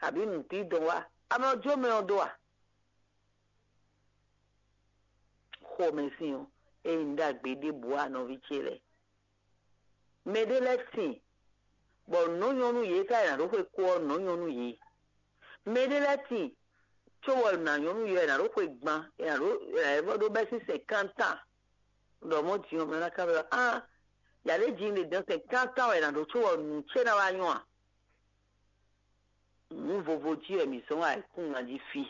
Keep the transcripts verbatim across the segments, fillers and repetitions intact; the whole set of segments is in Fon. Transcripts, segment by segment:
abǐ nǔtíndɔn wá, a nɔ jó mɛ ɔ́ dó a? Xomɛsin ɔ́, é nyí nǔ ɖagbe ɖěbǔ ǎ, nɔví ce lɛ́ɛ. Mɛ ɖé lɛ́ɛ sin, bɔ nǔ nyɔ́ nú yě ká è nǎ ɖó xwe kó ɔ́, nǔ nyɔ́ nú yě. Mɛ ɖé lɛ́ɛ sin, cóbɔ nǎ nyɔ́ nú yě ɔ́, è nǎ ɖó xwe gban, è nǎ ɖó è nǎ vɔ́ ɖó bɛ́ sín sɛnkántán. Ɖɔ mɔ̌ din ɔ́, mɛ ná ká ɖɔ á, yǎ ɖé jǐ ɖe dɔn sɛnkántán wɛ è nǎ ɖó cóbɔ nǔ ce ná wá nyɔ́ a? Nǔ vovo jí wɛ mǐ zɔ́n ayǐkúngban jí fí.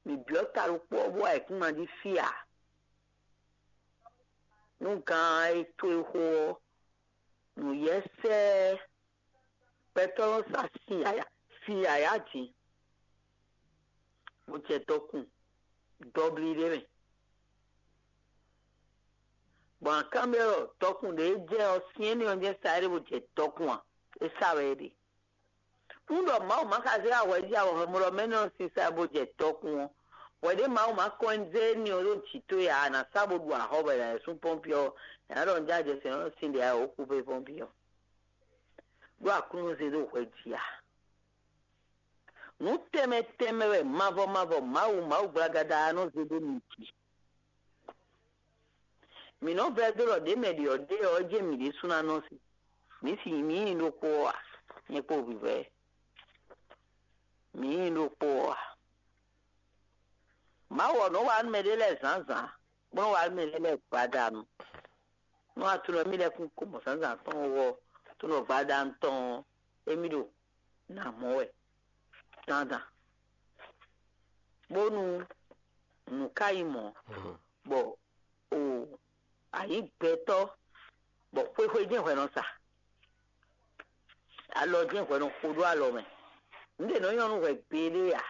Mǐ byɔ́ ta ɖokpó ɔ́ bó ayǐkúngban jí fí ǎ. Nú gǎn e towe xo ɔ́, nǔyɛ́sɛ́ gbɛtɔ́ nɔ sa sin yǎyá, sin yǎyá din, bó jɛ dɔkun dɔblí ɖé mɛ. Gbɔn akánbyɔ́ ɖɔ dɔkun ɖě e jɛ ɔ́, syɛ́n énɛ́ ɔ́ jɛ́n sa é ɖe bó jɛ dɔkun a? É sa wɛ é ɖe. Nú ɖɔ Mawu ma ka zé ahwɛjí awɔhɛmlɔ́ mɛ nɔ sisa bó jɛ dɔkun ɔ́, hwɛ ɖé Mawu ma kɔn zé énɛ́ ɔ́ ɖó jǐ towe ǎ, a nǎ sa bó ɖu axɔ́ bɔ è nǎ yi sú pɔ́npi ɔ́, è nǎ ɖɔ un já jɛ sɛn ɔ́ sín ɖě a wǒ kú fé pɔ́npi ɔ́. Ɖó Aklúnɔ zé ɖó hwɛ jí a? Nǔ tɛnmɛ tɛnmɛ wɛ mavɔ mavɔ Mawu Mawu gblagada ɔ́ nɔ zé ɖó mi jí. Mǐ nɔ vɛ́ dó ɖɔ ɖě mɛ ɖě ɔ́ ɖe ɔ́, é jɛ́n mǐ ɖésú ná nɔ si. Mǐ si mǐ nyí ɖokpó ɔ́ a? Nyɛ kpó vǐvɛ́, mǐ nyí ɖokpó ɔ́ a? Mawu ɔ́ nɔ wa nú mɛɖé lɛ́ɛ zǎnzǎn, bó nɔ wa nú mɛɖé lɛ́ɛ gbadanu. Nú atunɔ mì lɛ́ kún kó mɔ zǎnzǎn tɔn ɔ́, tunɔ gbadanu tɔn ɔ́, émí ɖo nǎ mɔ wɛ dandan, bónú nǔ ka nyí mɔ̌, bɔ o a nyǐ gbɛtɔ́, bɔ xwéxwé jɛ́n hwɛ nɔ sa, alɔ jɛ́n hwɛ nɔ xo ɖó alɔ mɛ. Nǔ ɖě nɔ nyɔ́ nú hwɛ gbeɖé ǎ.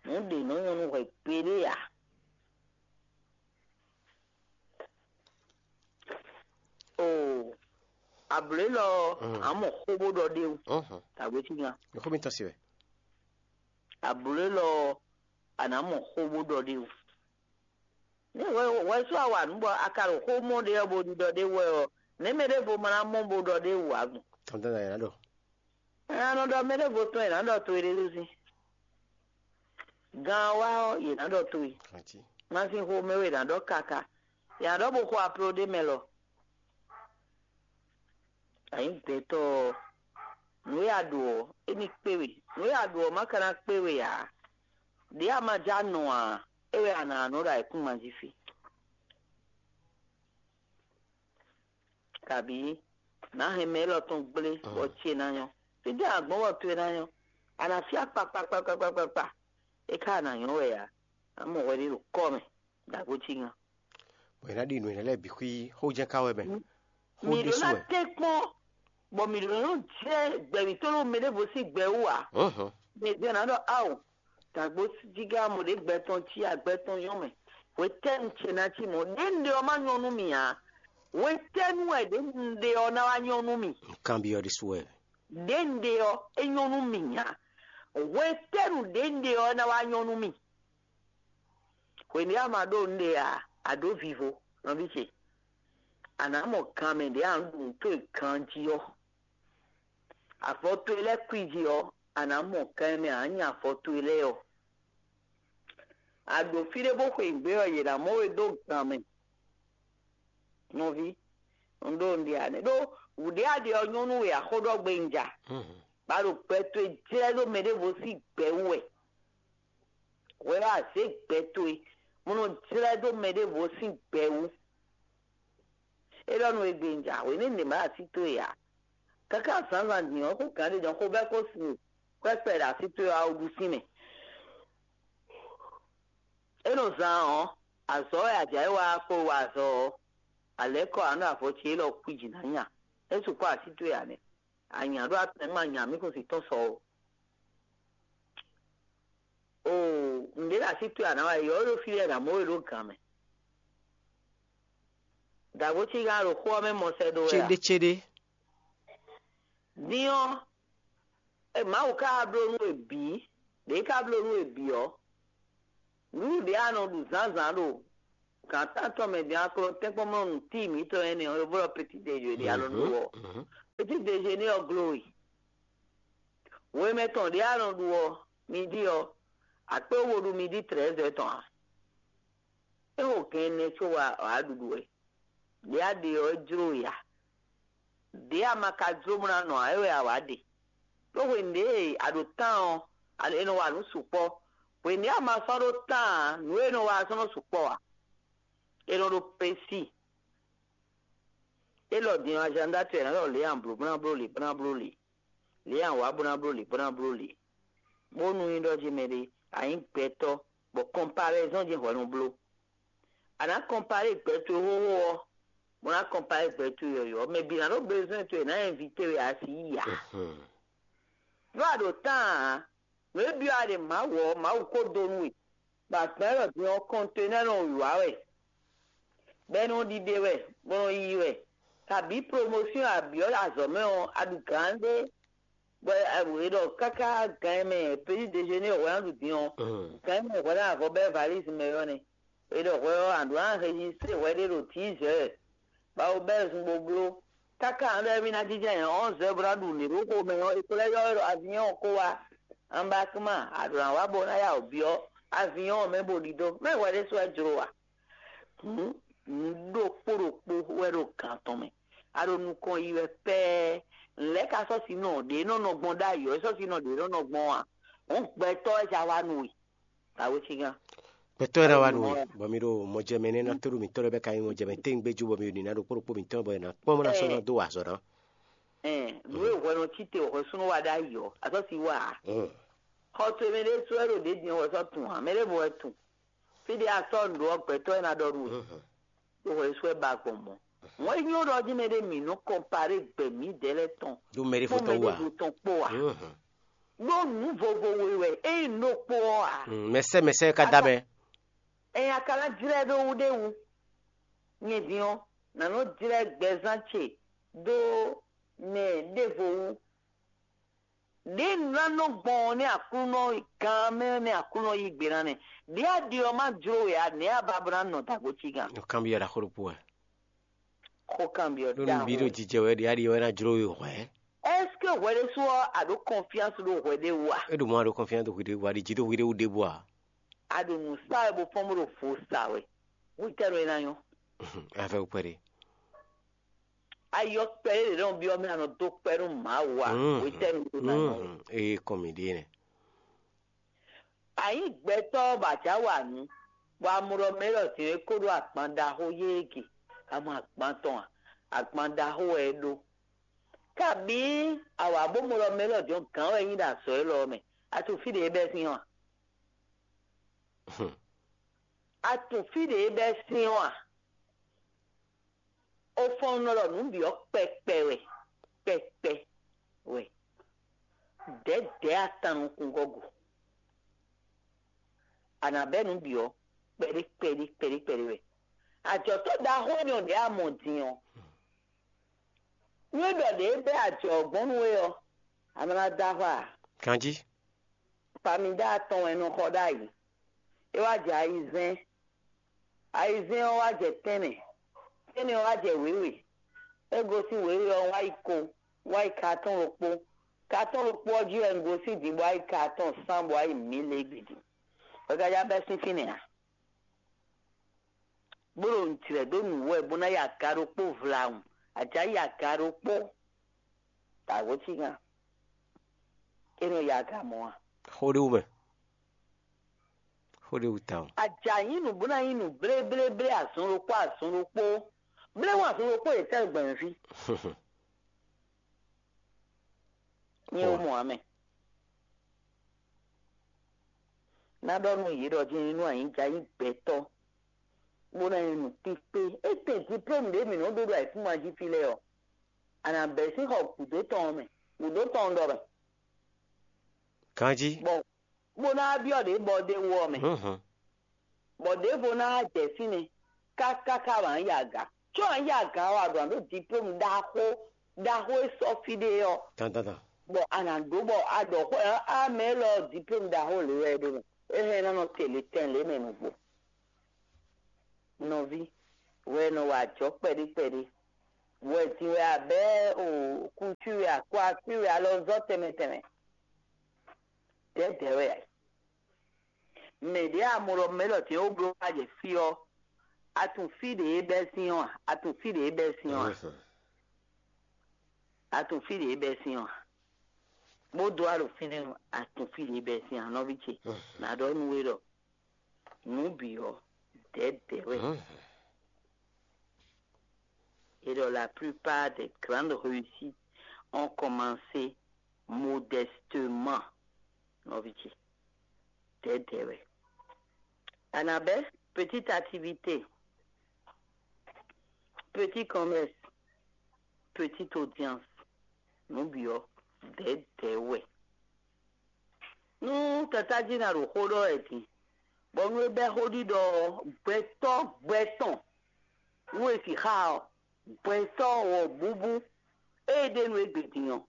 Nǔ ɖě nɔ nyɔ́ nú hwɛ gbeɖé ǎ. Oo, ablǒ élɔ́ ɔ́, a mɔ xó bó ɖɔ ɖ'é wú. Tàgbé cí nya. Xó mitɔn se wɛ. Ablǒ élɔ́ ɔ́, a nǎ mɔ xó bó ɖɔ ɖ'é wú. Ní hwɛ hwɛ sú a wa nǔ bɔ a ka ɖo xó mɔ ɖé ɔ́ bó ɖiɖɔ ɖ'é wú wɛ ɔ́, nɛ̌ mɛ ɖěvo ma ná mɔ bó ɖɔ ɖ'é wú ǎ gbɔn? Tɔn dandan yě ná ɖɔ. Ɛ a nɔ ɖɔ mɛ ɖěvo tɔn è nǎ ɖɔ to e ɖé sín. Gan wa ɔ́, yě ná ɖɔ to e. Masin xomɛ wɛ è nǎ ɖɔ kaka. Yě ná ɖɔ bó xo aplo ɖé mɛ lɔ. Ayǐ gbɛtɔ́ ɔ́, nǔ e a ɖo ɔ́, é ní kpé we. Nǔ e a ɖo ɔ́, má ka ná kpé we ǎ. Ɖě a ma já nɔ ǎ, é wɛ a nǎ nɔ ɖo ayǐkúngban jí fí. Kabǐ nǎ hɛn mɛ élɔ́ tɔn gblé bɔ ce ná nyɔ́. Fítɛ́ a gbɔn bɔ towe ná nyɔ́? A nǎ fí akpa kpakpakpakpakpa. É ká a nǎ nyɔ́ wɛ ǎ. A mɔ hwɛ ɖé ɖo kɔ́ mɛ, ɖo agbo cí ŋá. Bɔ è nǎ ɖi nǔ énɛ́ lɛ́ɛ bǐ xwí xó jɛ́n ká wɛ mɛ. Xó Mǐ ɖó ɖésú ná wɛ. Tɛ́n kpɔ́n, bɔ mǐ ɖó nɔ jɛ gbɛ̌ mǐtɔn ɖo mɛ ɖěvo sín gbɛ wú ǎ. Mǐ jɛ ná ɖɔ ao, dǎgbó jígá mɔ ɖě gbɛ tɔn cí agbɛ tɔn nyɔ́ mɛ. Hwetɛ́nu ce ná cí mɔ̌? Ɖěnúɖé ɔ́ má nyɔ́ nú mì ǎ. Hwetɛ́nu wɛ ɖěnúɖé ɔ́ ná wá nyɔ́ nú mì? Nǔkanbyɔ́ ɖésú wɛ. Ɖěnúɖé ɔ́, é nyɔ́ nú mì ǎ. Hwetɛ́nu ɖěnúɖé ɔ́ ná wá nyɔ́ nú mì? Hwenu e a ma ɖó nǔɖé ǎ, a ɖǒ vivo, nɔví ce. A nǎ mɔ gan mɛ ɖě a nǎ ɖu nǔ towe ganjí ɔ́. Avɔ towe lɛ́ɛ kwíji ɔ́, a nǎ mɔ gan e mɛ a nǎ nya avɔ towe lɛ́ɛ ɔ́. A ɖo fí ɖé bó xweyǐgbe ɔ́, yě ná mɔ we ɖó gan mɛ. Nɔví, un ɖó nǔɖé ǎ nɛ́. Ɖó wǔɖé a ɖe ɔ́ nyɔ́ nú we ǎ, xó ɖɔ gbe un ja. Ba ɖo gbɛ towe jlɛ́ ɖó mɛ ɖěvo sín gbɛ wú wɛ. Hwɛ ɔ́, a zě gbɛ towe, bó nɔ jlɛ́ dó mɛ ɖěvo sín gbɛ wú. É ɖɔ nú we gbe un ja, hwenɛ́nu ɖě ma ɖo así towe ǎ. Káká zǎnzǎn din ɔ́, xó gǎn ɖé jɔn xó bɛ́ kó sin we, kwɛ́ kpɛ ɖo así towe ɔ́, a wú ɖu sín mɛ. É nɔ zán ɔ́, azɔ̌ wɛ a jǎ é wá kpó wa azɔ̌ ɔ́, a lɛ̌ kɔ a nɔ ɖo avɔ ce élɔ́ kwíji ná nya. É sukpɔ́ así towe ǎ nɛ́. A nya ɖó atɛn ma nya mǐ kún si tɔ́n sɔ ó. Oo, nǔɖé ɖo así towe a nǎ wa yi ɔ́, é ɖo fí lɛ́ɛ ɖo amɔ̌ we ɖó gǎn mɛ. Dǎgbó cí gán ɖo xó ɔ́ mɛ mɔ sɛ ɖó wɛ a? Céɖécéɖé. Din ɔ́, e Mawu ka bló nú we bǐ, ɖě ka bló nú we bǐ ɔ́, nǔɖuɖu ɖě a nɔ ɖu zǎnzǎn ɖo gǎn tántɔn mɛ din a ko nɔ tɛ́nkpɔ́n mɔ nǔ tíi mǐtɔn énɛ́ ɔ́, é blɔ́ petit déjeuner ɖě a nɔ ɖu ɔ́. Petit déjeuner ɔ́ glo we. Hwemɛ tɔn ɖě a nɔ ɖu ɔ́, midi ɔ́, a kpé wú bo ɖu midi trɛ̌zɛ́ tɔn ǎ. É xo gɛn ɛnɛ có wá wǎ ɖuɖu wɛ. Ɖě a ɖe ɔ́, é jló we ǎ. Ɖě a ma ka jló bó ná nɔ ǎ, é wɛ a wǎ ɖe. Ɖó hwenu ɖě e a ɖo tán ɔ́, a- è nɔ wa nǔ sukpɔ́. Hwenu ɖě a ma sɔ́ ɖó tán ǎ, nǔ e è nɔ wa ɔ́ sɔ́ nɔ sukpɔ́ ǎ. È nɔ ɖo pesi. Élɔ́ din ɔ́, azǎn dó acɛ ná ɖɔ lě a blǒ bó ná bló lě bó ná bló lě. Lě a wǎ bó ná bló lě bó ná bló lě. Bónú nyí ɖɔ jí mɛɖé, a nyǐ gbɛtɔ́, bɔ kɔnpalɛzɔ́n jí hwɛ nɔ bló. A nǎ kɔnpalé gbɛ towe xóxó ɔ́, bó ná kɔnpalé gbɛ towe yɔ̌yɔ́. Mɛ bǐ ná ɖó bezwɛ́n towe, è nǎ ɛnvite we asi yi ǎ. Ɖó a ɖo tán ǎ. Nǔ e byɔ́ a ɖe Mawu ɔ́, Mawu ko dó nú we. Bɔ azǎn élɔ́ din ɔ́, kɔnténɛ́ nɔ wǐwá wɛ, bɔ é nɔ ɖiɖe wɛ, bó nɔ yiyi wɛ. Kabǐ promosíɔn a byɔ́ azɔ̌ mɛ ɔ́, a ɖu gǎn ɖé, bɔ è ɖɔ káká gǎn e mɛ peti dejéné hwɛ ná ɖu din ɔ́, gǎn e mɛ hwɛ ná avɔ bɛ́ valízi mɛ ɔ́ nɛ́. È ɖɔ hwɛ ɔ́, a ɖǒ ná rejistré hwɛ ɖé ɖo tízɛ̌, bɔ a ko bɛ́ zun bó bló. Káká a ɖɔ émí ná jínjɔ́n ayǐ ɔ́, zɛ̌ bó ná ɖu nǔ ɖé ɖó xomɛ ɔ́, è ko lɛ́ ylɔ́ we ɖɔ avinyɔ́n ɔ́ kó wá. Anbakíma, a ɖǒ ná wá bó ná ya wǔ byɔ́ avinyɔ́n ɔ́ mɛ bó ɖidó. Mɛ hwɛ ɖésú wɛ jló a? Hǔn, nǔ ɖokpó ɖokpó wɛ ɖo gǎn tɔn mɛ. A ɖo nukɔn yi wɛ pɛ́ɛ. Nǔ lɛ́ɛ ka sɔ́ sinɔ ɖě nɔ nɔ gbɔn ɖ'ayǐ ɔ́, é sɔ́ sinɔ ɖě nɔ nɔ gbɔn a? Hǔn gbɛtɔ́ wɛ ja wá nú we. Awecígán. Gbɛtɔ́ e ná wá nú we, bɔ mi ɖo mɔjɛmɛ nɛ́ ná tóɖó mǐtɔn lɛ́ɛ bɔ é ka nyí mɔjɛmɛ téwúngbéjú, bɔ mi ɖo nǐ ná ɖo kpó ɖokpó mǐtɔn bɔ è nǎ kpɔ́n bó ná sɔ́ ná dó wa azɔ̌ ná. Ɛn, nǔ e hwɛ nɔ cí te hwɛ súnú wa ɖ'ayǐ ɔ́, azɔ́ si wá ǎ. Xɔ towe mɛ ɖé sú wɛ ɖo ɖě din wɛ sɔ́ tun ǎ, mɛ ɖěvo wɛ tun. Fí ɖé a sɔ́ nǔ ɖó ɔ́, gbɛtɔ́ e ná ɖɔ nú we, ɖó hwɛ sú wɛ ba gbɔn mɔ̌. Wọ́n nyí ɖɔ jí mɛ ɖé mǐ nɔ kɔnparé gbɛ mǐdɛɛ lɛ́ɛ tɔn ɖó mɛ ɖěvo kpó tɔn mɛ wú ǎ. Ɖěvo tɔn kpó ǎ. Ɖó nǔ vovo we wɛ, ényí nǔ ɖokpó ɔ́ ǎ. Mm, mɛsɛ́ mɛsɛ́ ka dá mɛ. Ɛn a ka ná jlɛ́ ɖó wú ɖé wú. Nyɛ din ɔ́, nǎ nɔ jlɛ́ gbɛzán ce dó mɛ ɖěvo wú. Ɖě un ná nɔ gbɔn ɔ́ nɛ́ Aklúnɔ gán mɛ nɛ́ Aklúnɔ yí gbe ná nɛ́. Ɖě a ɖi ɔ́ má jló we ǎ, nɛ̌ a ba bó ná nɔ dǎgbó cí gán? Nɔ kanbyɔ́ ɖaxó ɖokpó wɛ. Xó kanbyɔ́ ɖó nú mǐ ɖo ɖaxó. Jijɛ wɛ ɖě a ɖi ɔ́ é ná jló we hwɛ̌. Est-ce que hwɛ ɖésú ɔ́ a ɖǒ confiance ɖó hwɛ ɖé wú a? É ɖo mɔ a ɖo confiance ɖo hwi ɖé wú a? A ɖi jǐ ɖo hwi ɖé wú ɖěbǔ a? A ɖo nǔ sa wɛ bó fɔ́n bó ɖo vo sa wɛ. Hwetɛ́nu é ná nyɔ́? Afɛ kpɛɖé. Ayɔ kpɛɖé ɖě nɔ byɔ́ mɛ a nɔ dó kpɛ́ nú Mawu a? Hwetɛ́nu é ná nyɔ́? Ee, kɔn mǐ ɖíe nɛ. A nyǐ gbɛtɔ́ bɔ a jǎ wa nǔ, bɔ a mɔ ɖɔ mɛ élɔ́ din é kó ɖó agban ɖaxó yéé ge, a mɔ agban tɔn a? Agban ɖaxó wɛ é ɖó. Kabǐ a wǎ bó mɔ ɖɔ mɛ élɔ́ din ɔ́, gǎn wɛ é nyí ɖo azɔ̌ élɔ́ ɔ́ mɛ. A tunwun fí ɖě é bɛ́ sín ɔ́ a? A tunwun fí ɖě é bɛ́ sín ɔ́ a? Ó fɔ́n nɔ ɖɔ nǔ bǐ ɔ́ kpɛkpɛ wɛ, kpɛkpɛ wɛ. Dɛ̌dɛ̌ a tan nukúngɔ́ go. A nǎ bɛ́ nǔ bǐ ɔ́ kpɛɖé kpɛɖé kpɛɖé kpɛɖé wɛ. Ajɔ̌tɔ́ ɖaxó énɛ́ ɔ́ ɖě a mɔ din ɔ́, nú é ɖɔ ɖě é bɛ́ ajɔ ɔ́ gbɔn nú we ɔ́, a nɔ ná dó axwá ǎ. Ganjí. Pamida atɔn wɛ è nɔ xɔ ɖ'ayǐ. É wá jɛ ayizɛ́n. Ayizɛ́n ɔ́ wá jɛ tɛ́nnɛ. Tɛ́nnɛ ɔ́ wá jɛ wěwe. É gosín wěwe ɔ́ wá yi ko, wá yi katɔ́n ɖokpó. Katɔ́n ɖokpó ɔ́ jí wɛ un gosín din bó wá yi katɔ́n sán bó wá yi mǐ lě gbidi. Hwɛgajá bɛ́ sín fínɛ́ ǎ. Bó ɖo nǔ jlɛ̌ dó nǔ wɛ bó ná yi aga ɖokpó vlawun. Ajǎ yi aga ɖokpó. Tǎgó cí gán. É nɔ yi aga mɔ̌ a? Xó ɖé wú mɛ. Xó ɖé wú tawun. Ajǎ nyí nǔ bó ná nyí nǔ bléblé azɔn ɖokpó azɔn ɖokpó. Bléwún azɔn ɖokpó yě tɛ́ gbɛmɛ fí. Nyɛ wo mɔ amɛ. Ná ɖɔ nú yě ɖɔ jínjínú anyǐja nyí gbɛtɔ́, bó ná nyí nǔkpíkpé. Étɛ́ diplôme ɖě mǐ nɔ́ ɖó ɖo ayǐkúngban jí fí lɛ́ɛ ɔ́, a nǎ bɛ́ sín xɔ gǔdo tɔn ɔ́ mɛ, gǔdo tɔn ɔ́ ɖɔ mɛ. Ganjí. Bɔ bó ná byɔ́ ɖě bɔ ɖé wú ɔ́ mɛ. Bɔ ɖěvo ná jɛ fínɛ́ káká ká wǎ yi aga. Có wǎ yi aga ɔ́, a ɖǒ ná ɖó diplôme ɖaxó ɖaxó e sɔ́ fí ɖé ɔ́. Dandandan. Bɔ a nǎ ɖó bɔ a ɖɔ xó ɔ́, a mɛ élɔ́ diplôme ɖaxó lě wɛ é ɖó mɛ. É hɛn ná nɔ te lě tɛn lě mɛ nǔgbó. Nɔví, wɛ nɔ wa ajɔ̌ kpɛɖé kpɛɖé. Wɛ din wɛ a bɛ́ o kúncu wɛ a kó así wɛ alɔzɔ́ tɛnmɛ tɛnmɛ. dɛ̌dɛ̌ wɛ ǎ. Mɛ ɖě a mɔ ɖɔ mɛ élɔ́ din ó bló wá jɛ fí ɔ́, a tunwun fí ɖě é bɛ́ sín ɔ́ a? A tunwun fí ɖě é bɛ́ sín ɔ́ a? A tunwun fí ɖě é bɛ́ sín ɔ́ a? Bó dó wá ɖo fínɛ́ ɔ́, a tunwun fí ɖě é bɛ́ sín a? Nɔví ce, nǎ ɖɔ nú we ɖɔ nǔ bǐ ɔ́, dɛ̌dɛ̌ wɛ. Et donc, la plupart des grandes réussites ont commencé modestement. Nɔví ce, dɛ̌dɛ̌ wɛ. Annabelle, petite activité, petit commerce, petite audience. Nǔ bǐ ɔ́, dɛ̌dɛ̌ wɛ. Nú tatájí ná ɖo xó ɖɔ wɛ din, bɔ nú é bɛ́ xó ɖiɖɔ ɔ́, gbɛtɔ́ gbɛ tɔn nú è sixá ɔ́, gbɛtɔ́ wɔ̌búbú e ɖe nú égbé din ɔ́,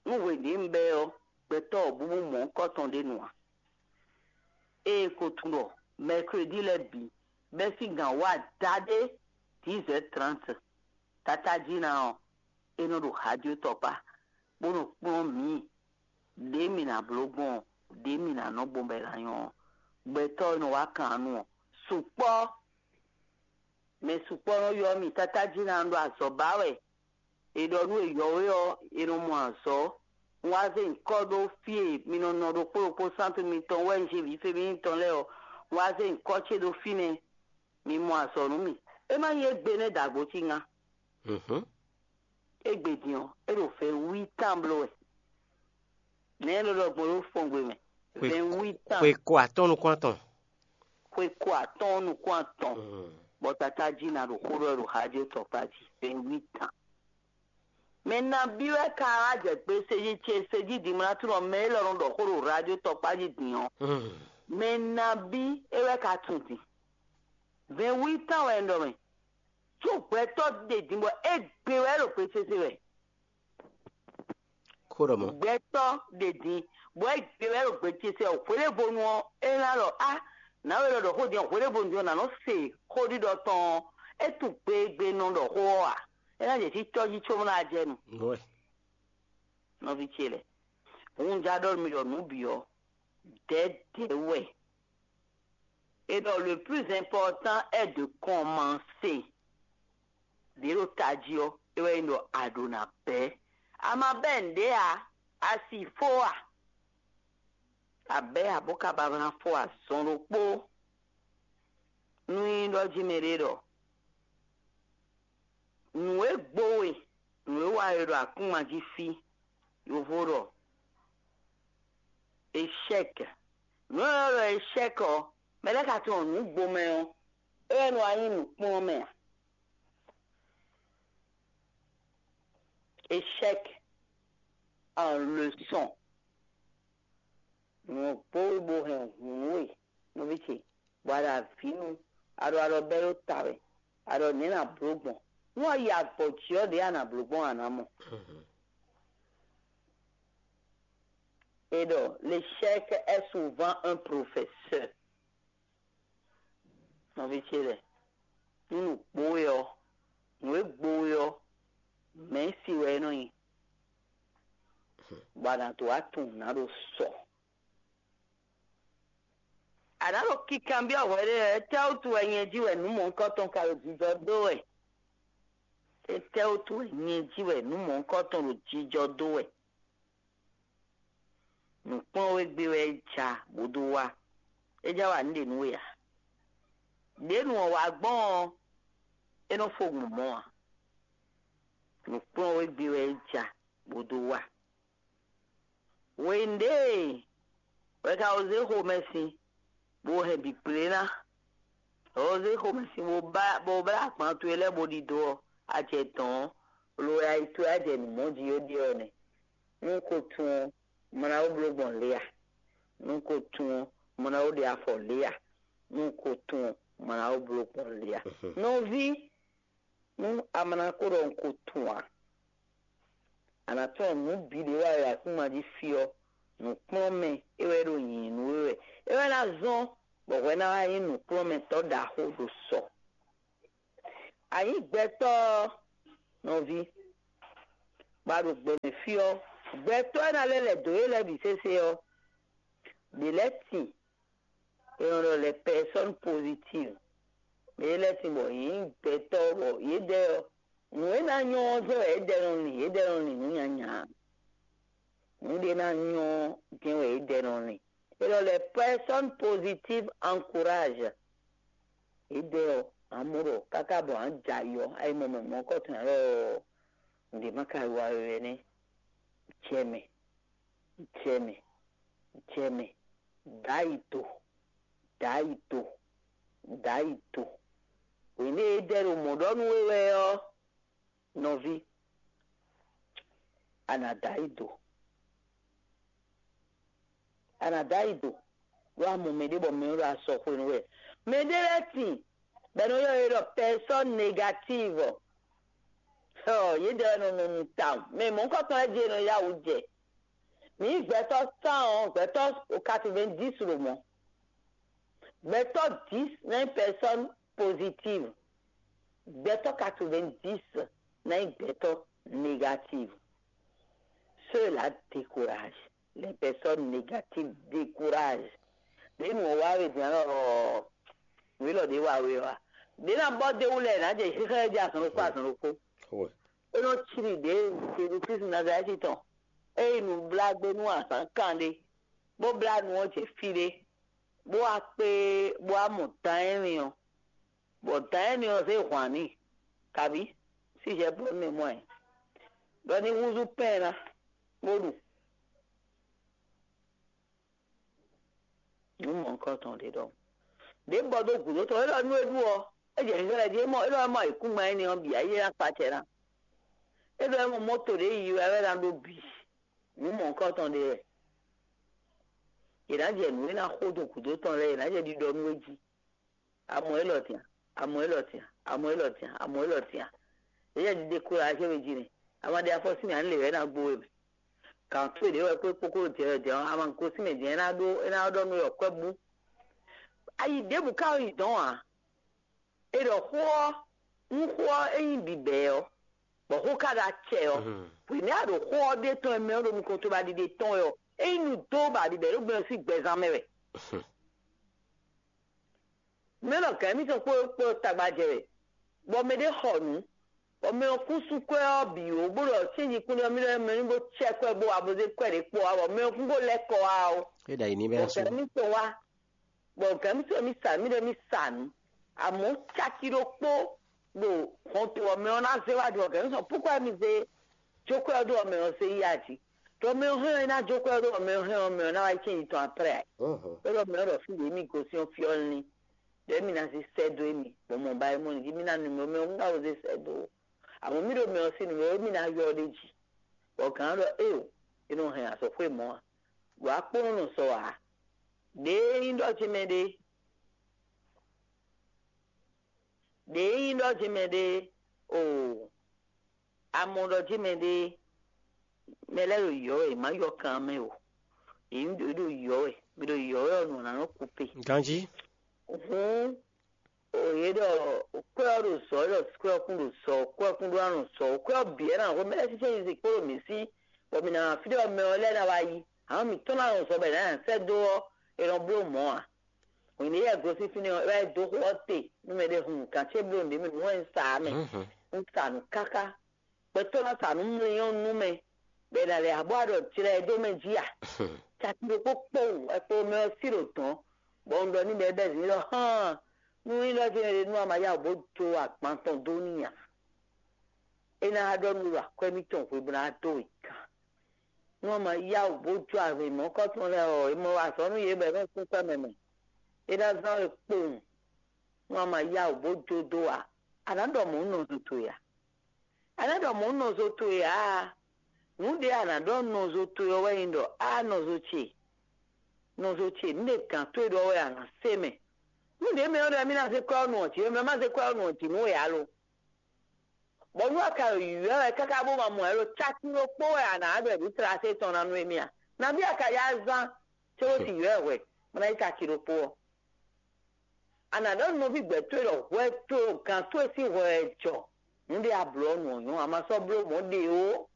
nú hweɖěnu bɛ́ ɔ́, gbɛtɔ́ wɔ̌búbú mɔ̌hunkɔtɔn ɖé nu ǎ. Ée ko tunwun ɖɔ mɛkredi lɛ́ɛ bǐ bɛ́ sín gǎn wá daɖé dix heures trente, tatájí ná ɔ́, é nɔ ɖo hajó tɔkpá, bó nɔ kplɔ́n mǐ ɖě mǐ ná bló gbɔn ɔ́, ɖě mǐ ná nɔ gbɔn bɔ è nǎ nyɔ́ ɔ́, gbɛtɔ́ e nɔ wá kan nu ɔ́, sukpɔ́. Mɛ sukpɔ́ nɔ ylɔ́ mì, tatájí ná ɖo azɔ̌ ba wɛ. È ɖɔ nú è yɔ̌wé ɔ́, è nɔ mɔ azɔ̌. Un wá zé nyǐkɔ ɖó fí e mi nɔ nɔ ɖokpó ɖokpó sántu mitɔn wɛ un jí vǐ fé mǐtɔn lɛ́ɛ ɔ́, un wá zé nyǐkɔ ce ɖó fínɛ́. Mi mɔ azɔ̌ nú mì. É má nyí égbé nɛ́ dǎgbó cí ŋá. Égbé din ɔ́, é ɖo vɛ̌nwítan bló wɛ. Nɛ̌ é nɔ ɖɔ gbɔn ɖó fɔngbe mɛ? Vɛ̌nwítan. Xwe ko atɔ́ɔ́n nukún atɔn. Xwe ko atɔ́ɔ́n nukún atɔn. Bɔ tatá jí ná ɖo xó ɖɔ ɖo xájó tɔkpá jí. Vɛ̌nwítan. Mɛ nabí wɛ ka wá jɛ gbe sejí ce sejí dimlátúnɔ mɛ élɔ́ nɔ ɖɔ xó ɖo rádió tɔkpá jí din ɔ́? Mɛ nabí é wɛ ka tunwun din? Vɛ̌nwítan wɛ un ɖɔ mɛ. Có gbɛtɔ́ ɖe din bɔ é gbe wɛ ɖo gbe sese wɛ. Xó ɖɔ mɔ̌. Gbɛtɔ́ ɖe din bɔ é gbe wɛ ɖo gbe sese wɛ. Hweɖěvonu ɔ́, é ná ɖɔ á, nǎwe lɔ ɖɔ xó din ɔ́, hweɖěvonu din ɔ́, nǎ nɔ se xó ɖiɖɔ tɔn ɔ́, é tunwun gbe e gbe nɔ ɖɔ xó ɔ́ ǎ. É ná jɛ sí tɔ́ jí có ná jɛ nu. Nɔví ce lɛ́ɛ, hun ja ɖɔ mi ɖɔ nǔ bǐ ɔ́, dɛ̌dɛ̌ wɛ. Et donc, le plus important est de commencer. Ɖě ɖo tají ɔ́, é wɛ nyí ɖɔ a ɖǒ ná bɛ́. A ma bɛ́ nǔɖé ǎ, a si fó a? A bɛ́ ǎ bó ka ba ná fó azɔn ɖokpó. Nú nyí ɖɔ jí mɛ ɖé ɖɔ nǔ e gbo we, nǔ e wa we ɖo akúnma jí fí, yovo ɖɔ échec. Nǔ e ɖɔ échec ɔ́, mɛ lɛ́ɛ ka tunwun nǔ gbo mɛ ɔ́, é wɛ nɔ wá nyí nǔkplɔ́nmɛ ǎ. Échec en leçon. Nǔ ɔ́ gbo we bó hɛn hǔn we, nɔví ce, bɔ a ɖo avǐ nu, a ɖo alɔ bɛ́ ɖó ta wɛ, a ɖɔ nɛ̌ nǎ bló gbɔn? Nú a yi agbɔ̌ jí ɔ́, ɖěe a nǎ bló gbɔn a nǎ mɔ. É ɖɔ l'échec est souvent un professeur. Nɔví ce lɛ́ɛ, nú nǔ gbo we ɔ́, nǔ e gbo we ɔ́, mɛ̌ si wɛ é nɔ nyí, bɔ a nǎ dó wá tunwun nǔ ná ɖo sɔ. A nǎ ɖo kikanbyɔ́ hwɛɖée wɛ, étɛ́wútu wɛ nyɛ jí wɛ nǔ mɔ̌hunkɔtɔn ka ɖo jijɔ dó wɛ? Étɛ́wútu wɛ nyɛ jí wɛ nǔ mɔ̌hunkɔtɔn ɖo jijɔ dó wɛ? Nǔkplɔ́nwégbé wɛ é ja bó dó wá. É já wa nǔ ɖě nú we ǎ. Đě nu ɔ́ wá gbɔn ɔ́, é nɔ fó gbɔn mɔ̌ ǎ. Nǔkplɔ́nwégbé wɛ é ja bó dó wá. Hwenu ɖě wɛ ka ko zé xomɛ sin, bó hɛn bǐ kplé ná. Ɔ́ zé xomɛ sin bó blá agban towe lɛ́ɛ bó ɖidó ɔ́, a jɛ dɔ̌n ɔ́, lo wɛ ayi towe á jɛ nǔ mɔ jí ó ɖe ɔ́ nɛ́. Nú un ko tunwun ɔ́, mlá ó bló gbɔn lě a? Nú un ko tunwun ɔ́, mlá ó ɖe afɔ lě a? Nú un ko tunwun ɔ́, mlá ó bló gbɔn lě a? Nɔví, nú a ma ná ko ɖɔ un ko tunwun ǎ, a nǎ tunwun nǔ bǐ ɖě wa e akúma jí fí ɔ́, nǔkplɔ́nmɛ é wɛ ɖo nyǐnyí nú we wɛ. É wɛ ná zɔ́n bɔ hwɛ ná wá nyí nǔkplɔ́nmɛtɔ́ ɖaxó ɖo sɔ. A nyǐ gbɛtɔ́ ɔ́, nɔví, bɔ a ɖo gbɛ mɛ fí ɔ́, gbɛtɔ́ e ná lɛ́ lɛ̌ dó we lɛ́ɛ bǐ sésé ɔ́, Ɖě lɛ́ɛ tin, è nɔ ɖɔ les personnes positives. Mɛ ɖé lɛ́ɛ tin bɔ yě nyí gbɛtɔ́ bɔ yědɛɛ ɔ́, nǔ e ná nyɔ́ ɔ́ jɛ́n wɛ yědɛɛ nɔ lin, yědɛɛ nɔ lin nǔ nyanya. Nǔ ɖé ná nyɔ́ ɔ́ jɛ́n wɛ yědɛɛ nɔ lin. È nɔ ɖɔ les personnes positives encouragent. Yědɛɛ ɔ́, amɔ̌ ɖɔ káká bɔ a nǎ jɛ ayɔ, ayi mɔ mɛ mɔ̌kɔtɔn ǎ lɔ ɔ́, nǔɖé má ka wa we wɛ nɛ́. Jɛ mɛ, jɛ mɛ, jɛ mɛ, dǎ yi do, dǎ yi do, dǎ yi do. Hwěɖée é dɛ ɖo mɔ̌ ɖɔ nú we wɛ ɔ́, nɔví, a nǎ dǎ yi do. A nǎ dǎ yi do, ɖó a mɔ mɛɖé bɔ mɛ ɔ́ ɖo asɔ xwenu wɛ. Mɛɖé lɛ́ɛ tin bɔ è nɔ ylɔ́ yě ɖɔ personne négative. Ɔ, yědɛɛ wɛ nɔ nɔ nu tawun. Mɛ mɔ̌hunkɔtɔn lɛ́ɛ jí è nɔ yá wǔ jɛ. Mǐ gbɛtɔ́ tán ɔ́, gbɛtɔ́ quatre-vingt-dix ɖo mɔ̌. Gbɛtɔ́ dix ná nyí personne positive. Gbɛtɔ́ quatre-vingt-dix ná nyí gbɛtɔ́ négative. Ceux-là découragent. Les personnes négatives découragent. Ɖě nǔ ɔ́ wá we din ɔ́, nǔ élɔ́ ɖě wa we ɔ́, ɖě ná bɔ dé wú lɛ nǎ jɛ xixlɛ́ jɛ azɔn ɖokpó azɔn ɖokpó. É nɔ cíli ɖě Jezu Klísu Nazalɛ́ti tɔn. É yi nǔblágbé nú azǎn kan ɖé, bó blá nu ɔ́ jɛ fí ɖé, bó wá kpé, bó wá mɔ dan énɛ́ ɔ́, bɔ dan énɛ́ ɔ́ zé hwan n'i, kabí sísɛ bló nú mɔ ɛ, ɖɔ ní húzú pɛ́n ná, bó ɖu. Nǔ mɔ̌hunkɔtɔn ɖé ɖɔhun. Ɖě bɔ dó gǔdo tɔn, é ɖɔ nú é ɖu ɔ́, é jɛ xixlɛ́ jí, é mɔ é ɖɔ é mɔ ayǐkúngban énɛ́ ɔ́ bǐ, ayé ná kpa acɛ ná. É ɖɔ é mɔ mɔ́to ɖě yiyi wɛ é ná ɖó bǐ. Nǔ mɔ̌hunkɔtɔn ɖé wɛ. Yě ná jɛ nǔ e ná xo dó gǔdo tɔn lɛ́ɛ, yě ná jɛ ɖiɖɔ nú é jí. Amɔ élɔ́ tɛn, amɔ élɔ́ tɛn, amɔ élɔ́ tɛn, amɔ élɔ́ tɛn. Yě jɛ ɖiɖe kó ɖo acɛ́ jí nɛ. A ma ɖe afɔ sín mɛ, a nǎ lě wɛ é ná gbó we mɛ. Gǎn towe ɖě wɛ kpé kpókó ɖo jɛ wɛ jɛ ɔ́, a ma gosín mɛ din, é ná ɖó é ná ɖɔ nú we ɖɔ kwɛ́ bú. Ayi ɖěbǔ ka yi dɔn ǎ. É ɖɔ xó ɔ́, nú xó ɔ́ é nyí bǐbɛ́ ɔ́, bɔ xó ka ɖo acɛ ɔ́, hwěmɛ a ɖo xó ɔ́ ɖe tɔn e mɛ ɔ́ ɖo nukɔn towe ba ɖiɖe tɔn wɛ ɔ́, é nyí nu dó ba bǐbɛ́ ɖó gbɛ ɔ́ sín gbɛzán mɛ wɛ. Mɛ nɔ gǎn émítɔn kpó kpó tagba jɛ wɛ, bɔ mɛ ɖé xɔ nǔ, bɔ mɛ ɔ́ kún sú kwɛ́ ɔ́ bǐ ó, bó ɖɔ cɛ́nji kún ɖɔ mí ɖɔ mɛ ní bó cɛ kwɛ́ bó wa bó zé kwɛ́ ɖě kpó wá, bɔ mɛ ɔ́ kún bó lɛ́ kɔ wá ó. É ɖo ayǐ ní bɛ́ Bɔ gǎn émítɔn wá, bɔ gǎn émítɔn mí sa mí ɖɔ mí sa nǔ, amɔ̌ caki ɖokpó ɖo hɔnto ɔ́ mɛ ɔ́ ná zé wá ɖu ɔ́, gǎn émítɔn púkwɛ́ mi zé jó kwɛ́ ɔ́ ɖó ɔ́ mɛ ɔ́ zé yi aji. Ɖɔ mɛ ɔ́ hɛn ɔ́, é ná jó kwɛ́ ɔ́ ɖó ɔ́ mɛ ɔ́ hɛn ɔ́, mɛ ɔ́ ná wá yi cɛ́nji tɔn après. É ɖɔ mɛ ɔ́ ɖɔ fí ɖě mì gosín ɔ́ fí ɔ́ lín. Ɖɛ̌ mì ná zé sɛ́ dó émí, bɔ mɔ̌ ba é mɔ nǔ jí mì ná nu mì, mɛ ɔ́ ná wezé sɛ́ dó ó. Amɔ̌ mì ɖo mɛ ɔ́ sín nu mɛ ɔ́, émí ná ylɔ́ ɖ'é jí. Bɔ gǎn ɔ́ ɖɔ éeǒ, è nɔ hɛn azɔ̌xwé mɔ̌ ǎ. Ɖo akpónɔ nɔ sɔ ǎ. Ɖěe nyí ɖɔ ce mɛ ɖe, ɖěe nyí ɖɔ ce mɛ ɖe, oo, a mɔ ɖɔ ce mɛ ɖe, mɛ lɛ́ɛ ɖo yɔ̌ wɛ, è má yɔ kan mɛ o. Yě ɖo yɔ̌ wɛ, mɛ ɖo yɔ̌ wɛ ɔ́, nǔ ɔ́ ná nɔ kú pe. Ganjí. Hǔn, o yě ɖɔ kwɛ́ ɔ́ ɖo zɔ, é ɖɔ kwɛ́ ɔ́ kún ɖo zɔ, kwɛ́ ɔ́ kún ɖó anɔ zɔ, kwɛ́ ɔ́ bǐ wɛ ná xo mɛ lɛ́ɛ sísɛ́n yi zǐn kpó ɖo mǐ sí, bɔ mǐ ná wá fí ɖé ɔ́ mɛ ɔ́ lɛ́ɛ ná wá yi. Hǎn mǐtɔn ná nɔ zɔ bɔ è nǎ nyi sɛ́ dó ɔ́, è nɔ bló mɔ̌ ǎ. Hwenu e yɛ gosín fínɛ́ ɔ́, é wá yi dó xó ɔ́ te nú mɛɖé hun kan ce bló nǔɖé mɛ nǔ wɛ un sa ǎ mɛ. Un sa nǔ káká. Gbɛtɔ́ ná sa nǔ mlɔ́ nú mɛ, bɔ è nǎ lɛ́ abɔ aɖɔ jlɛ ɛ dó mɛ jí a? Caki ɖokpó kpowun wɛ kpo mɛ ɔ́ sí ɖo dɔ̌n, bɔ un ɖɔ n'i bɔ é bɛ́ zǐn ɖɔ hán, nú nyí ɖɔ jɛ́n è ɖe nú a ma yá wǔ bó dó agban tɔn dó n'i ǎ. É ná ɖɔ nú ɖo akwɛ́ mitɔn hwe bó ná dó we gán. Nú a ma yá wǔ bó jó avǐ mɔ̌kɔ́tɔn lɛ́ɛ ɔ́, è mɔ wa azɔ̌ nú yě bɔ è nɔ sín kwɛ́ mɛ mɛ. É ná zán we kpowun. Nú a ma yá wǔ bó jó dó ǎ, a nǎ ɖɔ mɔ̌ nɔ zo towe ǎ. A nǎ ɖɔ mɔ̌ nɔ zo towe ǎ. Nǔ ɖé a nǎ ɖɔ nɔ zo towe ɔ́ wɛ nyí ɖɔ á nɔ zo ce. Nɔ zo ce, nǔ ɖé gǎn towe ɖɔ wɛ a nǎ se mɛ. Nǔ ɖě mɛ ɔ́ ɖɔ mí ná zé kwɛ́ ɔ́ nu ɔ́ jǐ, mɛ má zé kwɛ́ ɔ́ nu ɔ́ jǐ nú we ǎ lo. Bɔ nú a ka ɖo yǔywɛ́ wɛ káká bó ma mɔ ɛ lo, caki ɖokpó wɛ a nǎ ɖɔ ɖě tlase tɔn ná nú émí a? Nabí a ka yá zán cóbó sin yǔywɛ́ hwɛ, bó ná nyí caki ɖokpó ɔ́? A nǎ ɖɔ nú nɔví gbɛ̌ towe ɖɔ hwɛ towe ɖo gǎn towe sín hwɛ wɛ jɔ. Nǔ ɖé a blǒ ɔ́ nu ɔ́ nyɔ́, a ma sɔ́ bló mɔ̌ ɖe ó.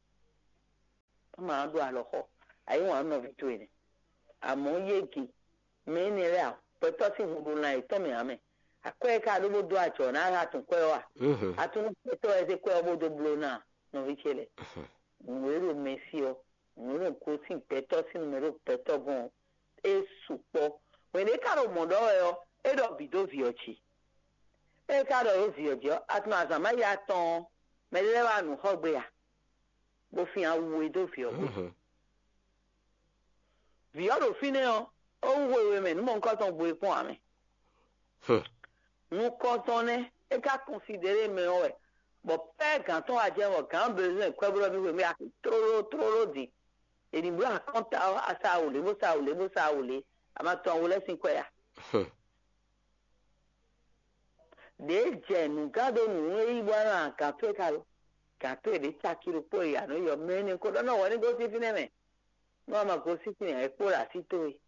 Má ma ɖó alɔxɔ, a yí wǎn nú nɔví towe nɛ́. Amɔ̌ yégi mɛ énɛ́ lɛ́ɛ a, gbɛtɔ́ sín hun ɖo lan yětɔn mɛ ǎ mɛ. Akwɛ́ e ka ɖó bó dó ajɔ̌ ná a tunwun kwɛ́ ɔ́ a? Atúnú gbɛtɔ́ wɛ zé kwɛ́ ɔ́ bó dó bló ná nɔví ce lɛ́ɛ. Nǔ e ɖo mɛ sí ɔ́, nǔ e ɖo gosín gbɛtɔ́ sín nǔ mɛ ɖo gbɛtɔ́ gɔ́n ɔ́, é sukpɔ́. Hwɛ̌n ɖě ka ɖo mɔ̌ ɖɔ wɛ ɔ́, é ɖɔ bǐ dó vǐ ɔ́ jí. É ka ɖɔ ɖó vǐ ɔ́ jí ɔ́, a tunwun azǎn má yi atɔn ɔ́, mɛɖé lɛ́ɛ wá nǔ xɔ gbe a? Bó fin awu e dó vǐ ɔ́ gbe. Vǐ ɔ́ ɖo fínɛ́ ɔ́, é wú hwehwe mɛ nǔ mɔ̌hunkɔtɔn gbo e kpɔ́n ǎ mɛ. Nukɔntɔn nɛ́ é ka kɔnsidéɖe mɛ ɔ́ wɛ, bɔ pɛ́ gǎn tɔn wá jɛ bɔ gǎn bezwɛn kwɛ́ blɔ́ mì hwenu e a tlóló tlóló din. È nǐ bló akɔ́nta ɔ́, a sa wǔlé bó sa wǔlé bó sa wǔlé, a ma tunwun awu lɛ́ɛ sín kwɛ́ a? Ɖěe jɛ nǔgán ɖó nǔ e yí bɔ nɔ agǎn towe ka lo. Gǎn towe ɖě caki ɖokpó e a nɔ yɔ mɛ énɛ́ ko ɖɔ nɔ wɛ ní gosín fínɛ́ mɛ. Nú a ma gosín fínɛ́ ǎ, é kpo ɖo así towe.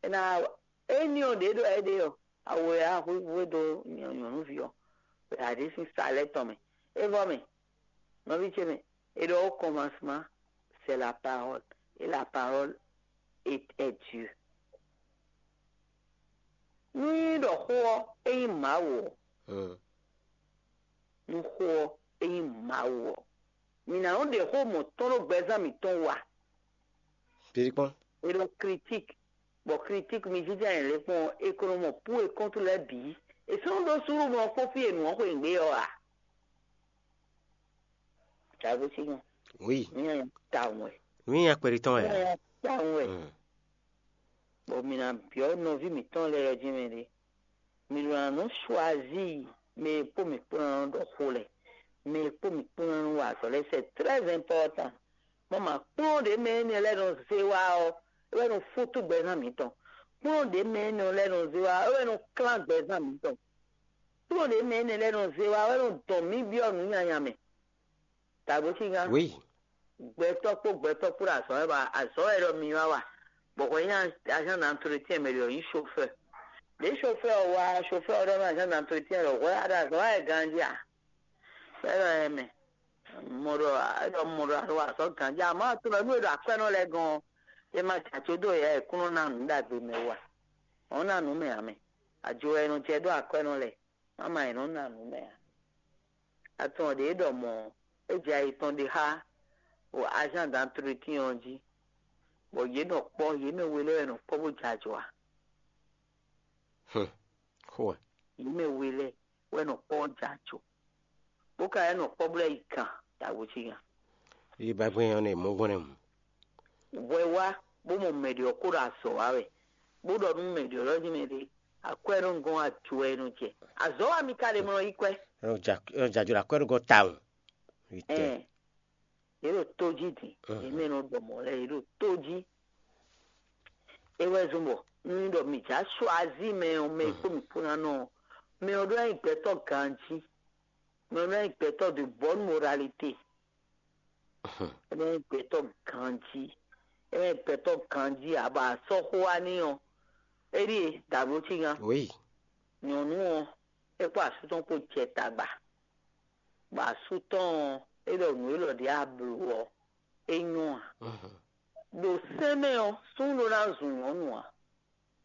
É ná wa éní ɔ́ ɖě ɖɔ é ɖe ɔ́, awu e a hwíhwé dó nyɔ̌nuví ɔ́, wɛ a ɖě sín sa lɛ́ɛ tɔn mɛ. É vɔ mɛ, nɔví ce mɛ, é ɖɔ au commencement, c'est la parole, et la parole est, est Dieu. Nú nyí ɖɔ xó ɔ́, é nyí Mawu ɔ́, nú xó ɔ́, é nyí Mawu ɔ́, mǐ ná nɔ ɖe xó mɔ̌ tɔn ɖó gbɛzán mǐtɔn wú a? Périkpɔ́n. É ɖɔ critique, bɔ critique mi jínjɔ́n ayǐ lɛ́ɛ kpɔ́n é ko nɔ mɔ pú e kɔ́ntu lɛ́ɛ bǐ. È sɔ́ nɔ ɖó súnnu mɔ kpɔ́n fí e nǔ ɔ́ xweyǐgbe ɔ́ a? Tàgbo sí nyɔ. Oui. Mí nyanya tawun wɛ. Mí nyanya kpɛɖi tɔn wɛ. Mí nyanya tawun wɛ. Mm. Bɔ mǐ ná byɔ́ nɔví mǐtɔn lɛ́ɛ ɔ́ jí mɛ ɖé. Mǐ ɖo ná nɔ choisir mɛ e kpó mǐ kpó ná nɔ ɖɔ xó lɛ́ɛ, mɛ e kpó mǐ kpó ná nɔ wa azɔ̌ lɛ́ɛ, c'est très important. Mɔ mǎ kplɔ́n ɖě mɛ énɛ́ lɛ́ɛ nɔ zé wá ɔ́, é wɛ nɔ fútú gbɛzán mǐtɔn. Kplɔ́n ɖě mɛ énɛ́ lɛ́ɛ nɔ zé wá ɔ́, é wɛ nɔ klán gbɛzán mǐtɔn. Kplɔ́n ɖě mɛ énɛ́ lɛ́ɛ nɔ zé wá ɔ́, é nɔ dɔn mǐ byɔ́ nǔ nyanya mɛ. Tàgbo sí gán. Oui. Gbɛtɔ́ kpó gbɛtɔ́ kpó ɖo azɔ̌ wɛ wa, azɔ̌ wɛ ɖɔ mi wá wa. Bɔ hwɛ nyí agent d'entretien mɛ ɖě ɔ́ nyí chauffeur. Ɖě chauffeur ɔ́ wá, chauffeur ɔ́ ɖɔ nú agent d'entretien ɖɔ hwɛ a ɖo azɔ̌ wá wɛ ganjí a? Bɔ é ɖɔ ɛ mɛ. Mɔ ɖɔ é ɖɔ mɔ ɖɔ a ɖo azɔ̌ ganjí, amɔ̌ a tunɔ nú e ɖo akwɛ́nɔ lɛ́ɛ gɔ́n ɔ́, é ma jɛ acó dó yɛ e kún nɔ ná nǔ ɖagbe mɛ wú a? Ɔ́ ná nǔ mɛ ǎ mɛ. Ajo wɛ è nɔ jɛ dó akwɛ́nɔ lɛ́ɛ. Mama è nɔ ná nǔ mɛ ǎ. Atɔn ɖě ɖɔ mɔ̌, é jɛ ayi tɔn ɖe xá o agent d'entretien ɔ́ jí, bɔ yě nɔ kpɔ́, yě mɛ we lɛ́ɛ wɛ nɔ kpɔ́ bó jɛ ajɔ a? Xó wɛ. Yě mɛ we lɛ́ɛ wɛ nɔ kpɔ́ bó jɛ ajɔ, bó ka wɛ nɔ kpɔ́ bó lɛ́ yi kan dǎwe jí nya. Yi ba gbɛn ɔ́ nɛ mɔ̌ gbɔn nɛ mɔ. Hwɛ wá bó mɔ mɛ ɖě ɔ́ kó ɖo azɔ̌ wa wɛ, bó ɖɔ nú mɛ ɖě ɔ́ ɖɔ nú mɛ ɖě, akwɛ́ nɔ gɔ́n ajɔ wɛ nɔ jɛ. Azɔ̌ wa mi ka ɖe mlɔ yi kwɛ́. Ɔ jajɔ ɖo akwɛ́ nɔ gɔ́n tawun. Vítɛ. Ɛn, yě ɖo tó jí din, yě mɛ nɔ ɖɔ mɔ̌ lɛ́ɛ, yě ɖo tó jí. É wɛ zɔ́n bɔ nú ɖɔ mǐ já choisir mɛ ɔ́, mɛ e kpó mǐ kpó ná nɔ ɔ́, mɛ ɔ́ ɖó ná nyí gbɛtɔ́ ganjí. Mɛ ɔ́ ɖó ná nyí gbɛtɔ́ de bonne moralité. É ná nyí gbɛtɔ́ ganjí. É ná nyí gbɛtɔ́ ganjí abɔ asɔ́xo wá n'i ɔ́, é ɖíe dǎbló cí nya. Oui. Nyɔ̌nu ɔ́, é kpó asú tɔn kpó jɛ tagba. Bɔ asú tɔn ɔ́, é ɖɔ nǔ élɔ́ ɖě a blǒ ɔ́, é nyɔ́ ǎ. Ɖo sɛ́n mɛ ɔ́, súnnu ɖó ná zun nyɔ̌nu ǎ.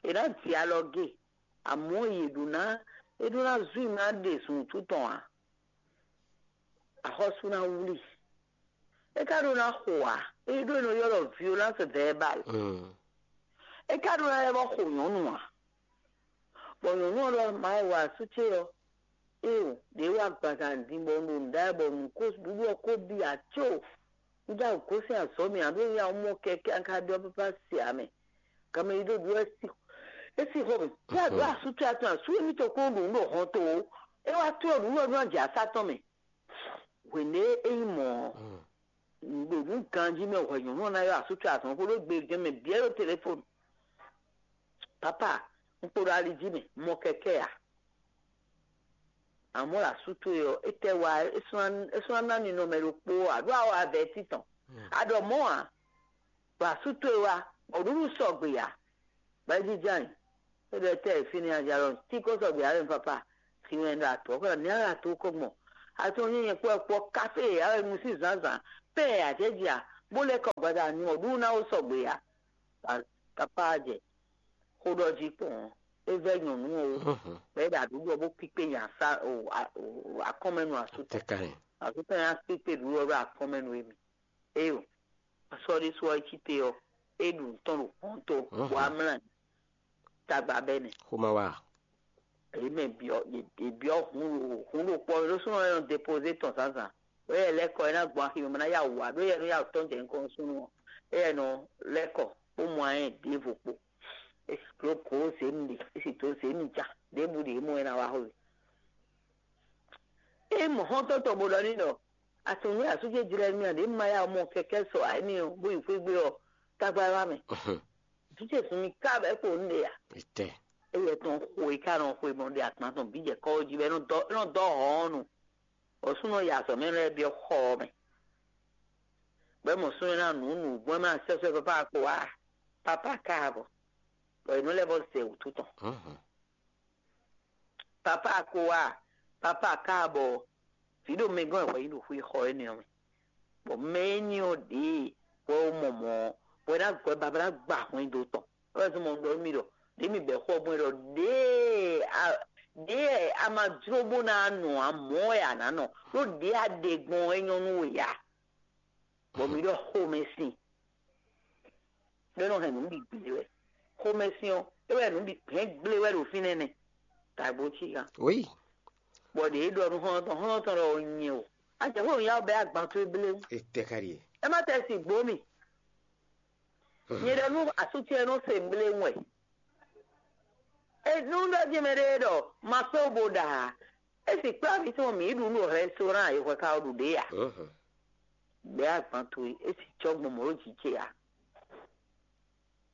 È nǎ ji alɔ géé, amɔ̌ yě ɖó ná é ɖó ná zun i ná ɖe zun wútu tɔn ǎ. Axɔ́sú ná wlí. É ka ɖó ná xo ǎ. É ɖó è nɔ ylɔ́ ɖɔ violence verbale. É ka ɖó ná lɛ́ vɔ́ xo nyɔ̌nu ǎ. Bɔ nyɔ̌nu ɔ́ ɖɔ Mawu asú ce ɔ́, éeǒ, ɖě wá gbazan din bɔ un ɖo nǔ ɖa wɛ bɔ nǔ ko ɖuɖu ɔ́ ko bi ǎ có. Un já gosín azɔ̌ mɛ ǎ ɖó nya mɔ kɛkɛ́ a ka ɖɔ pápá se ǎ mɛ. Ganmɛ yi ɖó ɖu wɛ sí é sí xɔ mɛ. Yá ɖó asú ce atɔn asú émítɔn kó ɖo nǔ ɖo hɔn to ó. É wá tlɔ́ nǔ wɛ nú ajǎ sá tɔn mɛ. Hwěɖé é nyí mɔ̌ ɔ́, ɖo nǔ ganjí mɛ hwɛ nyɔ̌nu ɔ́ ná ylɔ́ asú ce azɔ̌ xó ɖó gbe gɛ́n mɛ bǐ ɛ ɖo telefóni. Papa, un kpo ɖo ali jí mɛ, mɔ kɛkɛ́ ǎ. Amɔ̌ ɖo asú towe ɔ́, étɛ́ wa é sɔ́ ná ná ninɔmɛ ɖokpó ǎ, ɖó a wa avɛtí tɔn. A ɖɔ mɔ̌ ǎ, ɖo asú towe wá, bɔ nǔɖuɖu sɔgbe ǎ. Bɔ é jínjɔ́n ayǐ. É ɖɔ étɛ́ e fínɛ́ a jɛ alɔ tí kó sɔgbe ǎ wɛ papa. Si wɛ ɖo atɔ̌ kɔ ní ala tó kɔ gbɔn. Atɔ́ nyí nyɛ kpɔ́ kpɔ́ kafé e a wɛ nu sín zǎnzǎn. Pɛ́ e a jɛ jɛ a, bó lɛ́ kɔ gbada nyɔ ɖu ná ó sɔgbe ǎ. Kapá jɛ xó ɖɔ jí kpɔn ɔ́, é vɛ́ nyɔ̌nu ɔ́, bɔ é ɖo aɖǔɖɔ bó kpíkpé nya sá o a- o- akɔ́nmɛnu asútɔ. Tɛkani. Asútɔ nya kpíkpé ɖǔɖɔ ɖo akɔ́nmɛnu émi. Éyo, asɔ́ ɖésú ɔ́ é cí te ɔ́, é ɖu nǔ tɔn ɖo hɔn tó, bɔ amlá tagba bɛ́ nɛ. Xó ma wá. Èyí mɛ byɔ́ è byɔ́ hun ɖo hun ɖo kpɔ́ ɖó súnɔ ɔ́ nɔ depozé tɔn zǎnzǎn. Ɖó yɛ lɛ́ kɔ é ná gbɔn axi mɛ bó ná yá wǔ wá, ɖó yɛ nɔ yá wǔ tɔn jɛ nukɔn nú súnnu ɔ́. Éyɛ́ nɔ lɛ́ kɔ bó mɔ ayɛ́n ɖěvo kpó. É sì dó gǒ zě mi ɖe, é sì dó zě mi ja ɖěbǔ ɖě mɔ é ná wá xwé. É mɔ xɔ́ntɔn tɔn bó ɖɔ n'i ɖɔ: "Atɔ̌nú asú ce jlɛ́ mì a ɖě ma yá mɔ kɛkɛ́ sɔ ǎ énɛ́ ɔ́, bó yi xwé gbe ɔ́, tágbá wá mɛ." Vǐ ce sun mi ká bɔ é kpo nǔ ɖe a? Étɛ́. Éyɛ́ tɔn xo e ká nɔ xwe mɔ ɖe agban tɔn bǐ jɛ kɔ́ jí bɔ é nɔ dɔ é nɔ dɔ hɔn ɔ́ nu. Bɔ súnnu ɔ́ yi azɔ̌ mɛ lɛ́ɛ byɔ́ xɔ ɔ́ mɛ. Bɔ é mɔ súnnu ɔ́ ná nǔ nǔgbɔn ɛ má sɛ́sɛ́ pápá ko wá, pápá káàbɔ. Bɔ è nɔ lɛ́ vɔ zɛ wǔtu tɔn. Pápá ko wá, pápá káàbɔ. Vǐ ɖo mɛ gɔ́n wɛ hwɛ nyí ɖo xwé xɔ énɛ́ ɔ́ mɛ. Bɔ mɛ énɛ́ ɔ́ ɖě wɛ wó mɔ mɔ̌ ɔ́, bɔ é ná gbɔ babá ná gba hwɛndo tɔn. É wɛ zɔ́n mɔ un ɖɔ nú mi ɖɔ ɖě mi bɛ̌ xó ɔ́ gbɔn é ɖɔ ɖěe a- ɖěe a ma jló bó ná nɔ ǎ, mɔ̌ wɛ a nǎ nɔ, ɖó ɖěe a ɖe gbɔn ɔ́ é nyɔ́ nú we ǎ. Bɔ mi ɖɔ xomɛsin ɖé nɔ hɛn nǔ bǐ gblé wɛ. Xomɛsin ɔ́, é wɛ nǔ bǐ hɛn gblé wɛ ɖo fínɛ́ nɛ́. Tagbo cí kan. Oui. Bɔ ɖě e ɖɔ nú xɔ́ntɔn xɔ́ntɔn ɖɔ nyɛ o. Ajɛ xó ya bɛ agban towe blé. Etɛ ka ɖie. Ɛ má tɛ si gbó mi. Nyɛ ɖɔ nú asúti ɛ nɔ se blé wɛ. E nú ɖɔ jí mɛ ɖé ɖɔ ma só bo ɖa. E si kplá mi tɔn mi ɖu nú restaurant e hwɛ ka ɖu ɖe ya. Bɛ agban towe e si tsɔ gbɔn mɔ ɖo jijɛ ya.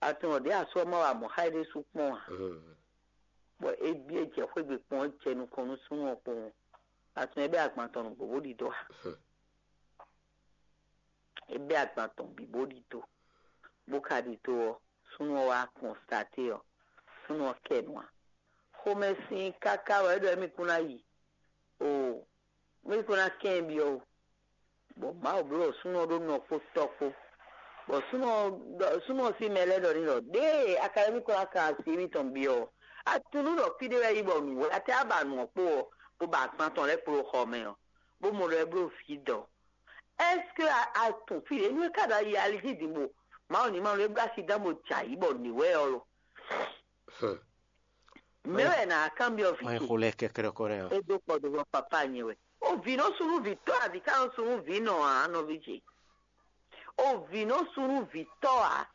Atún ɔ́ ɖě asú ɔ́ má wa mɔ̌ xá éɖée sú kpɔ́n ǎ, bɔ é byɔ́ é jɛ xwé gbe kpɔ́n é jɛ nukɔn nú súnnu ɔ́ kpowun. Atún ɔ́ bɛ́ agban tɔn nǔgbó bó ɖidó ǎ. É bɛ́ agban tɔn bǐ bó ɖidó, bó ka ɖidó ɔ́, súnnu ɔ́ wá kɔnstaté ɔ́, súnnu ɔ́ kɛ nǔ ǎ. Xomɛ sin káká wɛ é ɖɔ émí kún ná yi o, émí kún ná kɛ́n byɔ́ o. Bɔ Mawu bló súnnu ɔ́ ɖó nɔ kpó tɔ́ kpó. Bɔ súnnu ɔ́ ɖɔ- súnnu ɔ́ sín mɛ lɛ́ɛ ɖɔ n'i ɖɔ: "Ɖěe akadémíkplɔ́n ná kan asi émítɔn byɔ́ ɔ́, a tunú ɖɔ fí ɖé wɛ é yi bɔ nǔwlá tɛ́ á ba nǔ ɔ́ kpó ɔ́, bó ba agban tɔn lɛ́ɛ kpló xɔ mɛ ɔ́, bó mɔ ɖɔ é bló vǐ dɔ̌. Ɛ́skú a tunwun fí ɖě nú é ka ɖo ayi ali jí din bo Mawu ní ma nú é bló asi dán bo jɛ ayǐ bɔ nǐ wɛ ɔ́ lo?" Mɛ̌ wɛ nǎ kanbyɔ́ vǐ ce? Xo lɛ kɛkɛɖɔ kɔ nɛ ɔ́. É dó kpɔdovɔ papá nyɛ wɛ. O vǐ nɔ sú nú vǐ tɔ́ a, vǐ ka nɔ sú nú vǐ nɔ ǎ, nɔví ce. O vǐ nɔ sú nú vǐ tɔ́ a,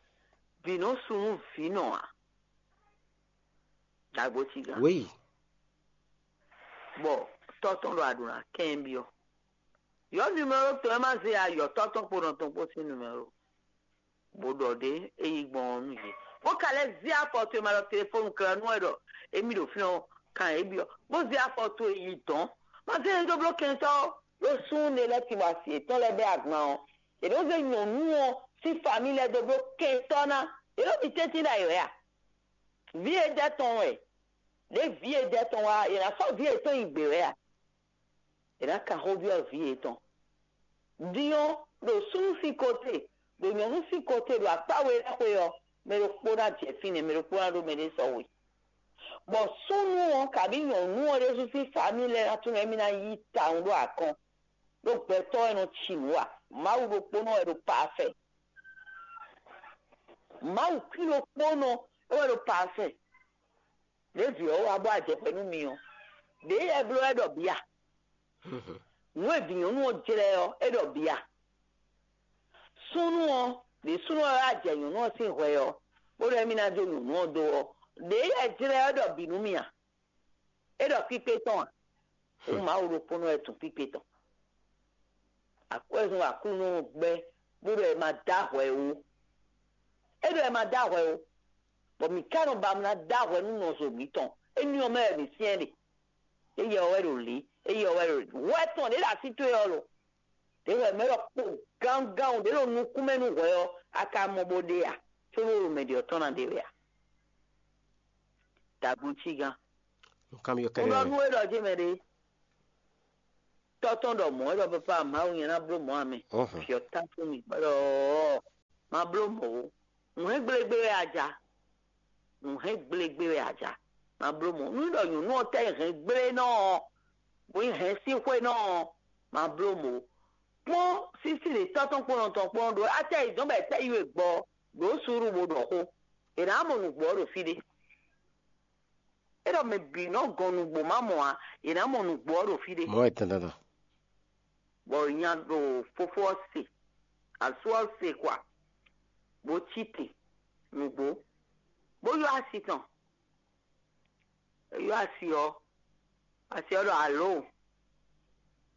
vǐ nɔ sú nú vǐ nɔ ǎ. Dagbo ci gán. Oui. Bɔ tɔ́ tɔn ɖo aɖǔ ná kɛn byɔ́. Yɔ numéro tɔn ɛ má zé ayɔ tɔ́ tɔn kpo nɔ tɔn kpó sín numéro. Bó ɖɔ ɖě é yi gbɔn ɔ́ nú yě. Bó ka lɛ́ zé afɔ towe ma ɖɔ telefɔnu kla nú wɛ ɖɔ émí ɖo fínɛ́ ɔ́, kan yě byɔ́, bó zé afɔ towe yi dɔ̌n. Ma zé yě dó bló kɛntɔ́ ó, ɖó súnnu ɖé lɛ́ɛ tin bɔ asi yětɔn lɛ́ɛ bɛ́ agban ɔ́, yě nɔ zé nyɔ̌nu ɔ́ sín famí lɛ́ɛ dó bló kɛntɔ́ ná. Yě nɔ bi tɛ́ntin ɖ'ayǐ wɛ a? Vǐ e jɛ tɔn wɛ, ɖě vǐ e jɛ tɔn wá, yě ná sɔ́ vǐ yětɔn nyi gbě wɛ a? È nǎ kan xó byɔ́ vǐ yětɔn. Din ɔ́, ɖo súnnu sín kóte, ɖo nyɔ̌nu sín kóte, ɖo akpá we lɛ́ɛ xwe ɔ́, mɛ ɖokpó ná jɛ fínɛ́, mɛ ɖokpó ná ɖó mɛɖé sɔ́ we. Bɔ súnnu ɔ́, kabǐ nyɔ̌nu ɔ́ ɖésú sín famí lɛ́ɛ ná tunwun émí ná yí tawun ɖó akɔn, ɖó gbɛtɔ́ wɛ nɔ ci nǔ ǎ. Mawu ɖokpónɔ wɛ ɖo pafɛ. Mawu kwín ɖokpónɔ é wɛ ɖo pafɛ. Ɖěvi ɔ́ wá bɔ ajɛxwɛ nú mi ɔ́, ɖěe yɛ bló wɛ ɖɔ bǐ a? Nǔ e vǐ nyɔ̌nu ɔ́ jlɛ́ ɔ́, é ɖɔ bǐ a? Súnnu ɔ́, ɖě súnnu ɔ́ wá jɛ nyɔ̌nu ɔ́ sín hwɛ ɔ́, bó ɖɔ émí ná jó nyɔ̌nu ɔ́ dó ɔ́, ɖěe yɛ jlɛ́ ɔ́ ɖɔ bǐ nú mi a? É ɖɔ kpíkpé tɔn a? Hǔn Mawu ɖokpónɔ wɛ tunwun kpíkpé tɔn. Akwɛ́zɔn Aklúnɔ ɔ́ gbɛ́ bó ɖɔ è ma dó ahwɛ ó. É ɖɔ è ma dó ahwɛ ó, bɔ mǐ ka nɔ ba mlá dó ahwɛ nú nɔzo mǐtɔn. Énɛ́ ɔ́ mɛ wɛ mǐ syɛ́n ɖe. Éyɛ́ ɔ́ wɛ ɖo lǐ, éyɛ́ ɔ́ wɛ ɖo hwɛ tɔn ɖě ɖo así towe ɔ́ lo. Đě wɛ mɛ ɖɔ kpo gangán ɖě ɖo nukún mɛ nú hwɛ ɔ́, a ka mɔ bó ɖe a? Có nú ɖo mɛ ɖě ɔ́ tɔn ná ɖe wɛ a? Dagbo cí gán. Nunkanbyɔ́ Un ɖɔ kɛ́ɖɛ́. Nú é ɖɔ jé mɛ ɖé. Tɔ́ tɔn ɖɔ mɔ̌ é ɖɔ papa Mawu nyɛ ná bló mɔ̌ amɛ. Ɔ́hɔn. Fyɔ tá fún mi. Bɔ ɖɔ má bló mɔ̌ ó. Nǔ hɛn gblégbé wɛ a ja. Nǔ hɛn gblégbé wɛ a ja. Ma bló mɔ̌. Nú ɖɔ nyɔ̌nu ɔ́ tɛ hɛn gblé nɔ ɔ́, bó yi hɛn sín xwé nɔ ɔ́, ma bló mɔ̌. Kpɔ́n sísí ɖě tɔ́ tɔn kpɔ́n nɔ tɔn kpɔ́n ɖó atɛ yi dɔn bɔ tɛ yi we gbɔ ɖǒ suúlu bó ɖɔ xó. È nǎ mɔ nǔgbó ɔ́ ɖo fí ɖé. É ɖɔ mɛ bǐ nɔ gɔn nǔgbó má mɔ ǎ, è nǎ mɔ nǔgbó ɔ́ ɖo fí ɖé. Mɔ̌ wɛ tɛntɛn. Bɔ nya ɖo fofó ɔ́ se, asú ɔ́ se kwa, bó cí te nǔgbó, bó yɔ asi tɔn. É yɔ asi ɔ́, asi ɔ́ ɖɔ alo,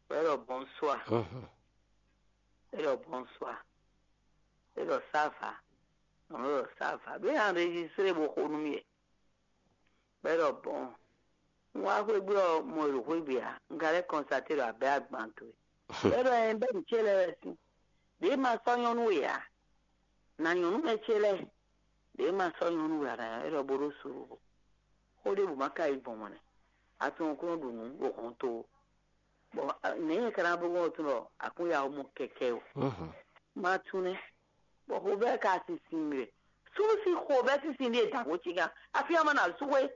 bɔ é ɖɔ bɔnsua, é ɖɔ bɔnsua, é ɖɔ sava, nɔ ɖɔ sava, bɛ enregistré bó xo nú mì. Bɔ é ɖɔ bɔn, un wá xwé gbe ɔ́, mɔ e ɖo xwé gbe ǎ, un ka lɛ́ kɔnstaté ɖɔ abɛ agban towe. Bɔ é ɖɔ ɛ bɛ nǔ ce lɛ́ɛ wɛ sín. Ɖě ma sɔ́ nyɔ́nú we ǎ. Na nyɔ̌nu mɛ ce lɛ́ɛ. Ɖě ma sɔ́ nyɔ́nú we ǎ, na é ɖɔ bó ɖó suúlu. Xó ɖěbǔ ma ka yi gbɔn mɔ̌ nɛ́. A tunwun kó nɔ ɖu nǔ ɖo hɔn to. Bɔ nɛ̌ nyɛ ka ná bló gbɔn ɖo tún ɖɔ akúnya ɔ́ mɔ kɛkɛ o. Ma tunwun nɛ́. Bɔ xovɛ́ ka sinsin mì wɛ. Súnnu sín xovɛ́ sinsin ɖíe dǎn xó cígán. Afí ɔ́ ma na sú xwé.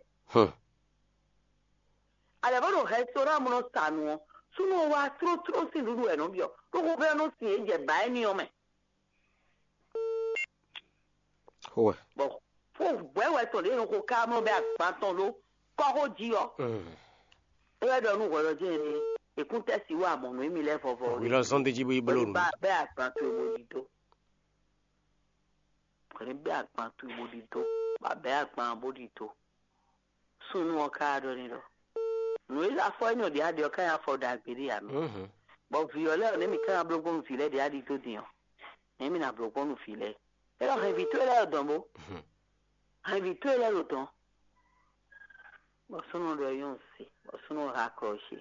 Alɛ bó ɖo rɛstorán mɔ nɔ sa nu ɔ́, súnnu ɔ́ wá tlótló sín nǔɖuɖu wɛ nɔ byɔ́. Ɖó xovɛ́ ɔ́ nɔ sin é jɛ bǎ éní ɔ́ mɛ. Xó wɛ. Bɔ fó hwɛ̌ wɛ tɔn ɖě nɔ xo ká mlɔ́ bɛ agban tɔn ɖó kɔ́xó jí ɔ́. É wɛ ɖɔ nú hwɛɖɔjɛ́n ɖé, èkúntɛ́ si wá mɔ̌ nú émí lɛ́ɛ vɔvɔ. Wǐ lɔ zɔ́n d'é jí bó yi bló nǔ. Bá bɛ́ agban towe bó ɖi dó. Hwɛ̌ bɛ́ agban towe bó ɖi dó. Bá bɛ́ agban bó ɖi dó. Súnnu ɔ́ ká ɖɔ n'i ɖɔ: Nǔ e afɔ énɛ́ ɔ́ ɖě a ɖe ɔ́ ká nyí afɔ ɖagbe ɖé ǎ mɛ. Bɔ vǐ ɔ́ lɛ́ɛ ɔ́, nɛ̌ mǐ ká ná bló gbɔn nú vǐ lɛ́ɛ ɖě a ɖi dó din ɔ́? Nɛ̌ mǐ ná bló gbɔn nú vǐ lɛ́ɛ? É ɖɔ hɛn vǐ towe lɛ́ɛ ɖo dɔ̌n bó. Hɛn vǐ towe lɛ́ɛ ɖo dɔ̌n. Bɔ súnnu ɔ́ ɖɔ nyɔ́ se, bɔ súnnu ɔ́ ha klɔ ce,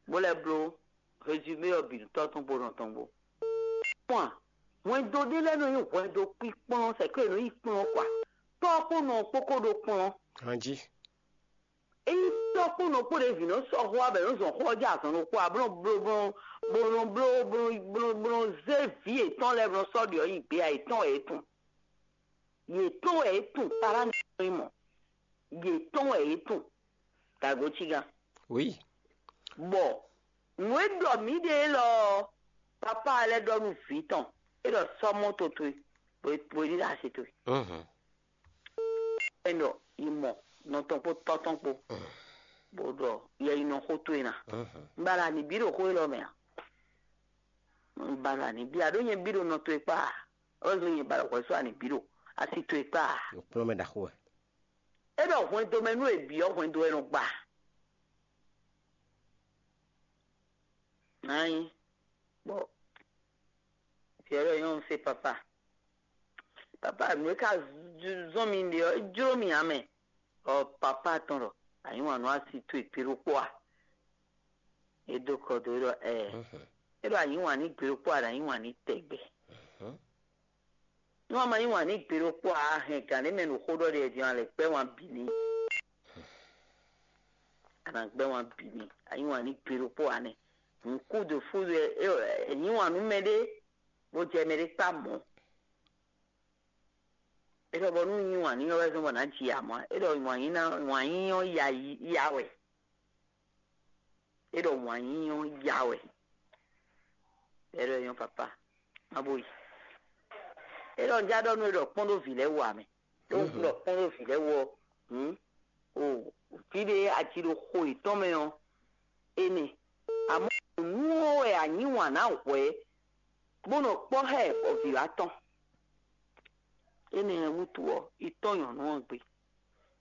bó lɛ́ bló résumé ɔ́ bǐ nú tɔ́ tɔn kpó nɔ tɔn kpó. Kpɔ́n a, hwɛndo ɖé lɛ́ɛ nɔ nyí hwɛndo kpíkplɔ́n, sɛ̌ kó è nɔ yi kplɔ́n kɔ a? Tɔ́ kpó nɔ kpó kó ɖó kplɔ́n. Anjí. Ényí tɔ́ kpó nɔ kpó ɖě vǐ nɔ sɔ́ xó abɛ nɔ zɔn xó ɔ́ jɛ azɔn ɖokpó a, bó nɔ bló bó nɔ bló bó nɔ zé vǐ yětɔn lɛ́ɛ bó nɔ sɔ́ ɖi ɔ́ nyi gbé a, yětɔn wɛ é tun. Yětɔn wɛ é tun, pará ní mɔ. Yětɔn wɛ é tun. Dǎgó cígán. Oui. Bɔ nǔ e ɖɔ mǐ ɖe élɔ́ ɔ́, papá lɛ́ɛ ɖɔ nú vǐ tɔn, é ɖɔ sɔ́ mɔ́to towe, bó bó ní ɖo asi towe. Mhm. Ɛnɔ yi mɔ nɔ tɔn kpó tɔ́ tɔn kpó, bó ɖɔ yɛ yi nɔ xó towe ná. Mhm. Un ba la ní bí ɖo xó élɔ́ mɛ a? Un ba la ní bí a ɖó nyɛ bí ɖo nɔ towe kpá a? Ɔ́ zɔn nyɛ ba la hwɛ só a ní bí ɖo asi towe kpá a? Nukplɔ́nmɛ ɖaxó wɛ. É ɖɔ hwɛndo mɛ nú è bǐ ɔ́, hwɛndo wɛ nɔ gba. Nǎ nyí bɔ vǐ ɔ́ ɖɔ nyɔ́nu sé papa. Papa, nǔ e ka zɔ́n mi ɖe ɔ́, é jló mì ǎ mɛ. Ɔ papa tɔn ɖɔ: Anyǐ wǎn nú asi towe gbe ɖokpó a? É dó kɔ dó é ɖɔ ɛɛ. É ɖɔ: Anyǐ wǎn ní gbe ɖokpó a, ɖo anyǐ wǎn ní tɛgbɛ. Nú a ma yí wǎn ní gbe ɖokpó ǎ, a hɛn gǎn ɖé mɛ ɖo xó ɖɔ ɖe din ɔ́, a lɛ̌ gbɛ́ wǎn bǐ n'i. A nǎ gbɛ́ wǎn bǐ n'i. A yí wǎn ní gbe ɖokpó ǎ nɛ́. Nǔkúdǒ fúdó ɛ, ɛ yí wǎn nú mɛɖé, bó jɛ mɛɖé kpá mɔ̌. É ɖɔ bɔ nú yí wǎn n'i ɔ́ wɛ zɔ́n bɔ nǎ ji amɔ̌. É ɖɔ wǎn yí ná wǎn yí ɔ́ ya yi ya wɛ. É ɖɔ wǎn yí ɔ́ ya wɛ. É ɖɔ é nyɔ́ papa, má bó yi. É ɖɔ un já ɖɔ nú é ɖɔ kpɔ́n ɖó vǐ lɛ́ɛ wú ǎ mɛ. Ɖó un ɖɔ kpɔ́n ɖó vǐ lɛ́ɛ wú ɔ́, hǔn o fí ɖé aji ɖo xo yětɔn mɛ ɔ́, énɛ́. Amɔ̌ nǔ ɔ́ wɛ a nyǐ wǎn ná hwɛ̌, bó nɔ kpɔ́ xá ɛ bɔ vǐ wá tɔn. Énɛ́ wútu ɔ́, yi tɔ́n nyɔ̌nu ɔ́ gbe.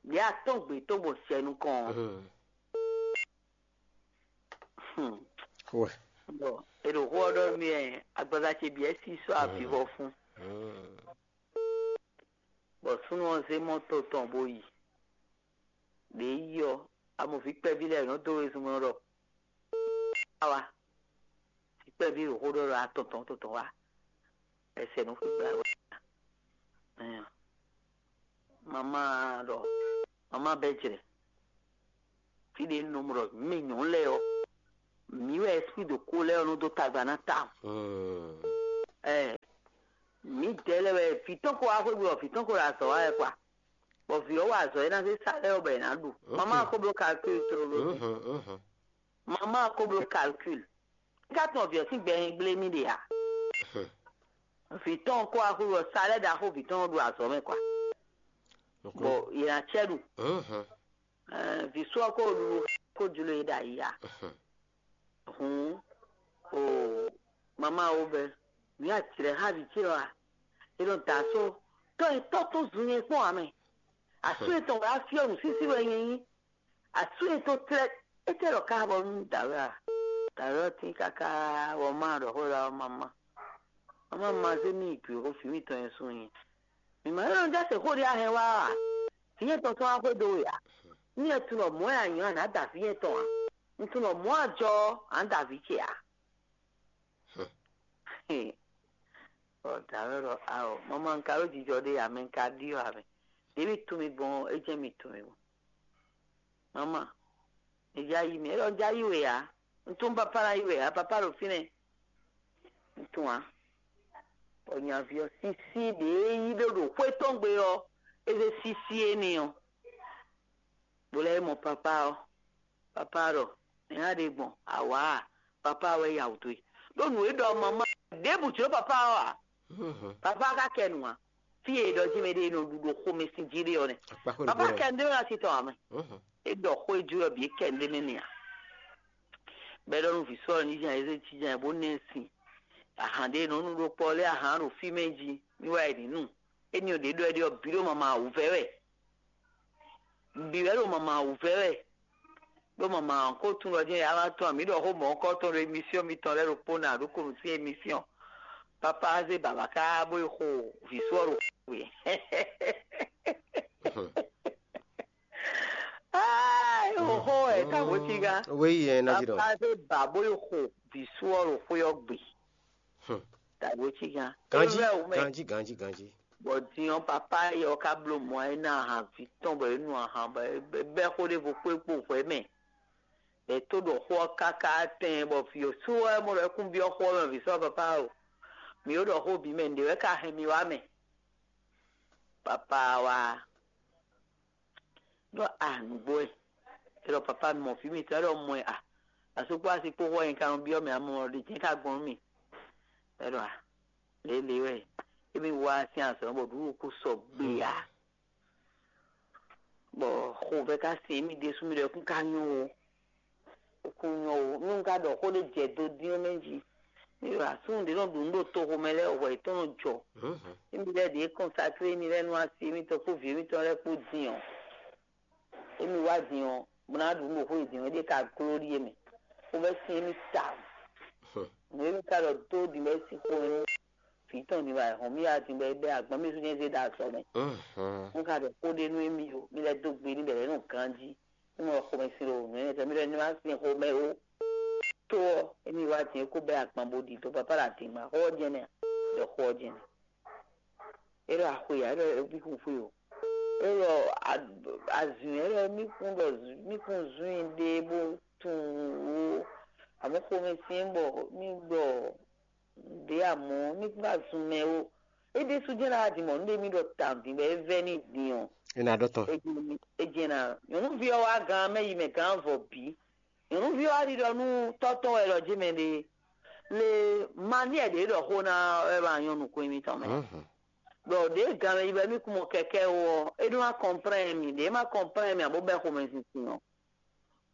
Ɖě a tɔ́n gbe tɔn bɔ sɛ nukɔn ɔ́. Wɛ. Bɔ è ɖo xó ɔ́ ɖɔ mì ɛ, agbaza ce bǐ ɛ sí sɔ́ avivɔ fún. Bɔ súnnu ɔ́ zé mɔto tɔn bó yi. Ɖě yi ɔ́, amɔ̌ví kpɛví lɛ́ɛ nɔ dó wezun mɛ ɖɔ: Awa, vǐ kpɛví ɖo xó ɖɔ ɖɔ atɔn tɔn tɔn wá. Ɛsɛ nɔ xwé gbla wɛ. Mama ɖɔ mama bɛ jrɛ. Fí ɖě nɔ mɔ ɖɔ mɛ nyɔ̌nu lɛ́ɛ ɔ́, mǐ wɛ esprit de ko lɛ́ɛ ɔ́ nɔ dó tagba ná ta. Ɛ mǐdɛɛ vǐ tɔn ko wá xwé gbe bɔ vǐ tɔn ko ɖo azɔ̌ wa wɛ kwa. Bɔ vǐ ɔ́ wa azɔ̌ e ná zé sa lɛ́ɛ ɔ́ bɔ è nǎ ɖu. Mamá ɔ́ ko bló calcul tlóló. Mamá ɔ́ ko bló calcul. É ka tunwun vǐ ɔ́ sín gbɛ e gblé mì ɖe ǎ. Vǐ tɔn ko wá xwé bɔ sa lɛ́ɛ ɖaxó vǐ tɔn ɔ́ ɖo azɔ̌ mɛ kwa. Bɔ yě ná cɛ ɖu. Vǐ sɔ́ ɔ́ ko ɖuɖu ko jló e ɖo ayǐ ǎ. Hǔn o, mamá wo bɛ́, mǐ aclɛ̌ xá vǐ ce ɔ́ a? É nɔ da asú tɔ́ e tɔ́ tɔn zun nyɛ kpɔ́n ǎ mɛ. Asú etɔn wɛ á fyɔ́ nǔsísí wɛ nyɛ nyí. Asú e tó tlɛ́ étɛ́ lɔ ka bɔ nú dǎwe a? Dǎwe ɔ́ tín káká bɔ má ɖɔ xó ɖɔ ɔ́ mamá. Mamá ma zé mì gbě xó vǐ mitɔn nyɛ sú nyɛ. Mǐ ma nɔ jɛ se xó ɖé a hɛn wá a? Vǐ nyɛ tɔn tɔn wá xwedó we a? Nú e tunɔ mɔ̌ wɛ a nyɔ̌ a nǎ da vǐ nyɛ tɔn a? Un tunɔ mɔ̌ a jɔ ɔ́, a nǎ da vǐ ce a? Ɔ dǎwe ɖɔ ao, mama un ka ɖó jijɔ ɖé ǎ, mɛ un ka ɖyɔ́ ǎ mɛ. Ɖě mi tunwun mi gbɔn ɔ́, é jɛ́n mi tunwun mi gbɔn. Mama, mi já yí mi, é ɖɔ un já yí we ǎ. Un tunwun papá ná yí we ǎ, papá ɖo fínɛ́. Un tunwun ǎ. Bɔ nyaví ɔ́ sísí ɖě yí ɖó ɖo xwé tɔn gbe ɔ́, é zé sísí éní ɔ́, bó lɛ́ mɔ papá ɔ́. Papá ɖɔ: "Nɛ̌ a ɖe gbɔn? Awǎ a? Papá wɛ ya wǔ dó e." Ɖó nǔ e ɖɔ mama ɖěbǔ jló papá ɔ́ ǎ. Papá ka kɛ nǔ ǎ. Fí e è ɖɔ jí mɛ ɖé e nɔ ɖu ɖo xomɛ sín jí ɖé ɔ́ nɛ́. Papá kɛ ndé wɛ asi tɔn ǎ mɛ. É ɖɔ xó e jú wɛ bǐ é kɛ ndé mɛ nɛ ǎ. Bɔ é ɖɔ nú vǐ sɔ́ ɔ́ ní ján ɛ zé jínján ɛ bó ná ɛ sin. Ahan ɖé e nɔ nu ɖó kpɔ́ lɛ́ɛ ahan ɖo fí mɛ jí ní wá ɛ ní nu. Éní ɔ́ ɖě ɖɔ ɛ ɖe ɔ́ bǐ ɖo mama wǔvɛ́ wɛ. Bǐ wɛ ɖo mama wǔvɛ́ wɛ. Ɖó mama ɔ́ ko tunwun ɖɔ jɛ́n yǎ wá tɔn mǐ ɖɔ xó mɔ̌hunkɔtɔn ɖo emisíɔn mitɔn lɛ́ɛ ɖokpó ná ɖó ko nǔ sín emisíɔn. Papá zé bǎbá ká bó yi xo vǐ sɔ́ ɖo xwe. Aa, é xo xó wɛ ká wǒ cí gá. Wéyi yẹn ná jí ɖɔ. Papá zé bà bó yi xo vǐ sɔ́ ɖo xwé ɔ́ gbe. Tàbí ó cí gán. Ganjí, ganjí, ganjí, ganjí. Bɔ din ɔ́, papá yɛ ɔ́ ká bló mɔ ɛ ná ahan vǐ tɔn bɔ é nu ahan bɔ é bɛ́ xó ɖěvo kpó é kpo hwɛ̌ mɛ. È tó ɖɔ xó ɔ́ káká tɛn bɔ vǐ ɔ́ sú wɛ mɔ ɖɔ é kún byɔ́ xó ɔ́ mɛ vǐ sɔ́ papá o. Mǐ ó ɖɔ xó bǐ mɛ nǔɖé wɛ ka hɛn mi wá mɛ. Papá wá ɖɔ a nǔgbó ɛ. É ɖɔ papá mɔ vǐ mitɔn é ɖɔ mɔ ɛ a. Asú kpó asi kpó xó ɔ́ nyɛ ka nɔ byɔ́ mɛ amɔ ɖě jɛ́n ka gbɔn nú mì. É ɖɔ a lě lě wɛ émí wá sín azɔ̌ bɔ ɖǔɖú kú sɔgbe ǎ. Bɔ xovɛ́ ka sin émí ɖésú mì ɖɔ é kún ka nyɔ́ ó. É kún nyɔ́ ó. Nú un ka ɖɔ xó ɖé jɛ do dín ɔ́ mɛ jí, mì ɖo asúnnu ɖě nɔ ɖu nǔ ɖo toxo mɛ lɛ́ɛ hwɛ yětɔn nɔ jɔ. Émí lɛ́ɛ ɖě kɔnsaklé émí lɛ́ɛ nú asi émítɔn kpó vǐ émítɔn lɛ́ɛ kpó din ɔ́, émí wá din ɔ́, bó ná ɖu nǔ ɖo xó e din ɔ́, é ɖe ka gló ɖíe mɛ. Xovɛ́ sin émí tawun. Nǔ e mì ka ɖɔ dó ɖi bɔ é sí xó nú vǐ tɔn din bɔ ayǐhɔ́n mì wá din bɔ é bɛ́ agban mì sú nyɛ zé ɖo azɔ̌ mɛ. Un ka ɖɔ xó ɖé nú émí ó, mi lɛ́ dó gbe n'i bɔ è nɔ ganjí. Nú mo ɖɔ xomɛ sin ɖo nǔ énɛ́ tɛ́ mì ɖɔ ní ma sin xomɛ ó. Tó ɔ́, émí wá din é kó bɛ́ agban bó ɖi dó papá ɖo adǐngban xó ɔ́ jɛ́n nɛ́ ǎ, ɖɔ xó ɔ́ jɛ́n nɛ́. É ɖɔ axwe ǎ, é ɖɔ é bí xwixwe o. É ɖɔ azǔn ɛ ɖɔ mì kún ɖɔ mì kún zún i ɖe bó tunwun wú. Amɔ̌ xomɛ sin bɔ mì ɖɔ ɖě amɔ̌ mì kún ka zun mɛ ó. É ɖésú jɛ́n ná wá din mɔ nú ɖé mì ɖɔ tawun din bɔ é vɛ́ n'i din ɔ́. É ná ɖɔ tɔn. É jɛ́n ná nyɔ̌nuví ɔ́ wá gán mɛ yi mɛ gán vɔ bǐ. Nyɔ̌nuví ɔ́ wá ɖiɖɔ nú tɔ́ tɔn wɛ ɖɔ jé mɛ ɖe le mani ɛ ɖě ɖɔ xó ná wɛ ma nyɔ́ nukún émítɔn mɛ. Ɖɔ ɖě gǎn mɛ yi bɔ émí kún mɔ kɛkɛ́ ó ɔ́, é ɖó ná kɔnplɛ́n mì, ɖě ma kɔnplɛ́n mì ǎ bó bɛ́ xomɛzinsin ɔ́.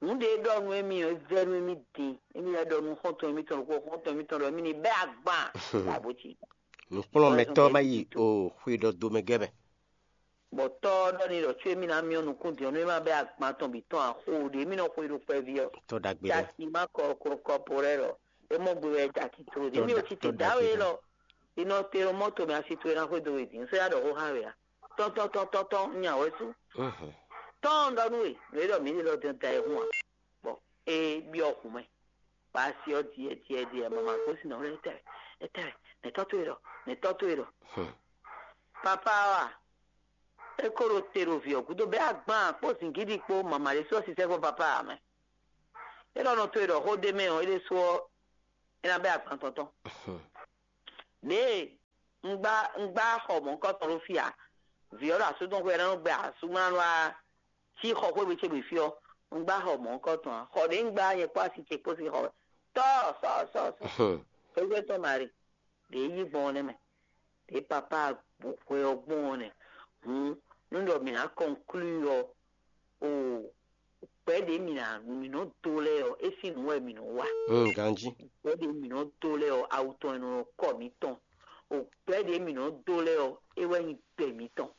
Nǔ ɖě ɖɔ nú émí ɔ́, é vɛ́ nú émí din, émí lɛ́ ɖɔ nú xɔ́ntɔn émítɔn ɖokpó, xɔ́ntɔn émítɔn ɖɔ émí ní bɛ́ agban. Abǒ cí. Nǔkplɔ́nmɛtɔ́ má yi o xwe ɖɔ do mɛ gɛ́ mɛ. Bɔ tɔ́ ɔ́ ɖɔ n'i ɖɔ có émí ná myɔ́ nukún din ɔ́, nú é má bɛ́ agban tɔn bǐ tɔn axo ɖě émí nɔ xwe ɖo kpɛví ɔ́. Tɔ́ ɖagbe lɛ́ɛ. Jaki má kɔ kɔ kɔpo lɛ́ɛ ɖɔ é mɔ gbe wɛ jaki tlo ɖě émí ò ci te dǎwe lɔ. Inɔ te ɖo mɔto mɛ asi towe ná xwedó we din sɔ́ ya ɖɔ xó xá we a? Tɔn tɔn tɔn tɔn tɔn nya wɛ sú. Tɔn ɖɔ nú we nú é ɖɔ mǐ ɖe lɔ dɛn da e hun a? Bɔ é byɔ́ hun mɛ. Bɔ asi ɔ́ diɛ diɛ diɛ mama gosín nɔ lɛ tɛrɛ tɛrɛ nɛ tɔ́ towe ɖɔ nɛ tɔ́ towe ɖɔ. Papa wa é ko ɖo te ɖo vǐ ɔ́ gúdo bɛ́ agban kpó zǐngídi kpó mama ɖé sɔ́ sisɛ fɔ papa ǎ mɛ. É ɖɔ nɔ towe ɖɔ xó ɖé mɛ ɔ́ é ɖésú ɔ́ é ná bɛ́ agban tɔn tɔn. Ɖěe Un gbá un gbá xɔ mɔ̌hunkɔtɔn ɖó fí ǎ. Vǐ ɔ́ ɖo asú tɔn xwé ɔ́, é ná nɔ gbɛ asúmlánú wá cí xɔ xwé ce gbe fí ɔ́, un gbá xɔ mɔ̌hunkɔtɔn ǎ. Xɔ ɖě un gbá nyɛ kpó asi ce kpó sín xɔ wɛ. Tɔ́ sɔ sɔ sɔ. Xwéxwé tɔn Mari, ɖě yí gbɔn ɔ́ nɛ́ mɛ, ɖě papá hwe ɔ́ gbɔn ɔ́ nɛ́. Hǔn nú ɖɔ mǐ ná kɔnklúi ɔ́, o gbɛ̌ ɖě mǐ ná mǐ nɔ dó lɛ́ɛ ɔ́, é sín nǔ wɛ mǐ nɔ wa. Mm, ganjí. Gbɛ̌ ɖě mǐ nɔ dó lɛ́ɛ ɔ́, awu tɔn e nɔ kɔ mǐtɔn. O gbɛ̌ ɖě mǐ nɔ dó lɛ́ɛ ɔ́, é wɛ nyí gbɛ mǐtɔn.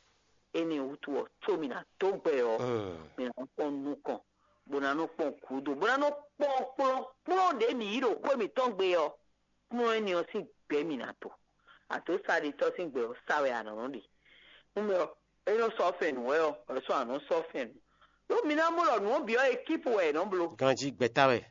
Énɛ́ wútu ɔ́, có mǐ ná dó gbɛ ɔ́, Mm. mǐ ná kpɔ́n nukɔn, bó ná nɔ kpɔ́n gǔdo, bó ná nɔ kpɔ́n kplɔ́nkplɔ́n ɖě mǐ yí ɖo xwé mǐtɔn gbe ɔ́, kplɔ́n énɛ́ ɔ́ sín gbɛ mǐ ná to. Àtǒ sa ɖetɔ́ sín gbɛ ɔ́ sa wɛ a nǎ nɔ ɖe. Nú mɛ ɔ́, é nɔ sɔ́ fɛn nǔ wɛ ɔ́, wɛ sɔ́ a nɔ sɔ́ fɛn nǔ. Ɖó mi ná mɔ ɖɔ nǔ ɔ́ bǐ ɔ́, ekípu wɛ è nɔ bló. Ganjí gbɛ̌ta wɛ.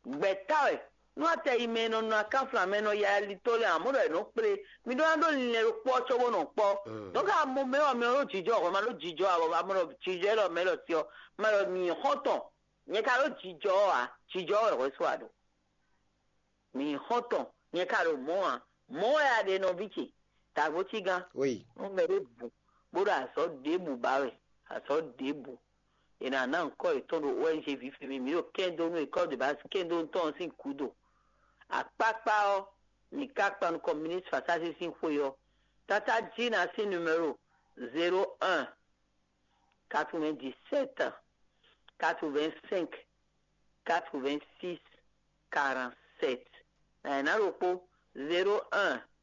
Gbɛ̌ta wɛ. Nú atɛ yi mɛ e nɔ nɔ akánflan mɛ e nɔ ya ali tó lɛ́ɛ, amɔ̌ ɖɔ è nɔ kplé. Mi ɖó ná ɖó linlɛn ɖokpó ɔ́ cóbó nɔ kpɔ́. Mm. Nɔ̌ ka mɔ mɛ ɔ́, mɛ ɔ́ ɖó jijɔ hwɛ, ma ɖó jijɔ ǎ, bɔ ma ɖɔ jijɔ élɔ́ mɛ lɔ si ɔ́, ma ɖɔ mi xɔ́ntɔn. Nyɛ ka ɖó jijɔ ɔ́ ǎ, jijɔ ɔ́ wɛ hwɛ só a ɖo. Mi xɔ́ntɔn, nyɛ ka ɖo mɔ̌ ǎ. Mɔ̌ wɛ a ɖe nɔví ce, tǎgbó cígán. Oui. Nú mɛ ɖé bu, bó ɖo azɔ̌ ɖěbǔ ba wɛ, azɔ̌ ɖěbǔ. È nǎ ná ŋkɔ́ yětɔn ɖo O N G vǐ fí mì, mǐ ɖo kɛ́ndó nú école de base kɛ́ndó tɔn sín gǔdo. Akpákpá ɔ́, mǐ ka kpan nukɔn ministre Fasási sín xwe ɔ́. Tátájínà sín numéro zéro un, quatre-vingt-dix-sept, quatre-vingt-cinq, quatre-vingt-six, quarante-sept. Nǎ ɖokpó, zéro un,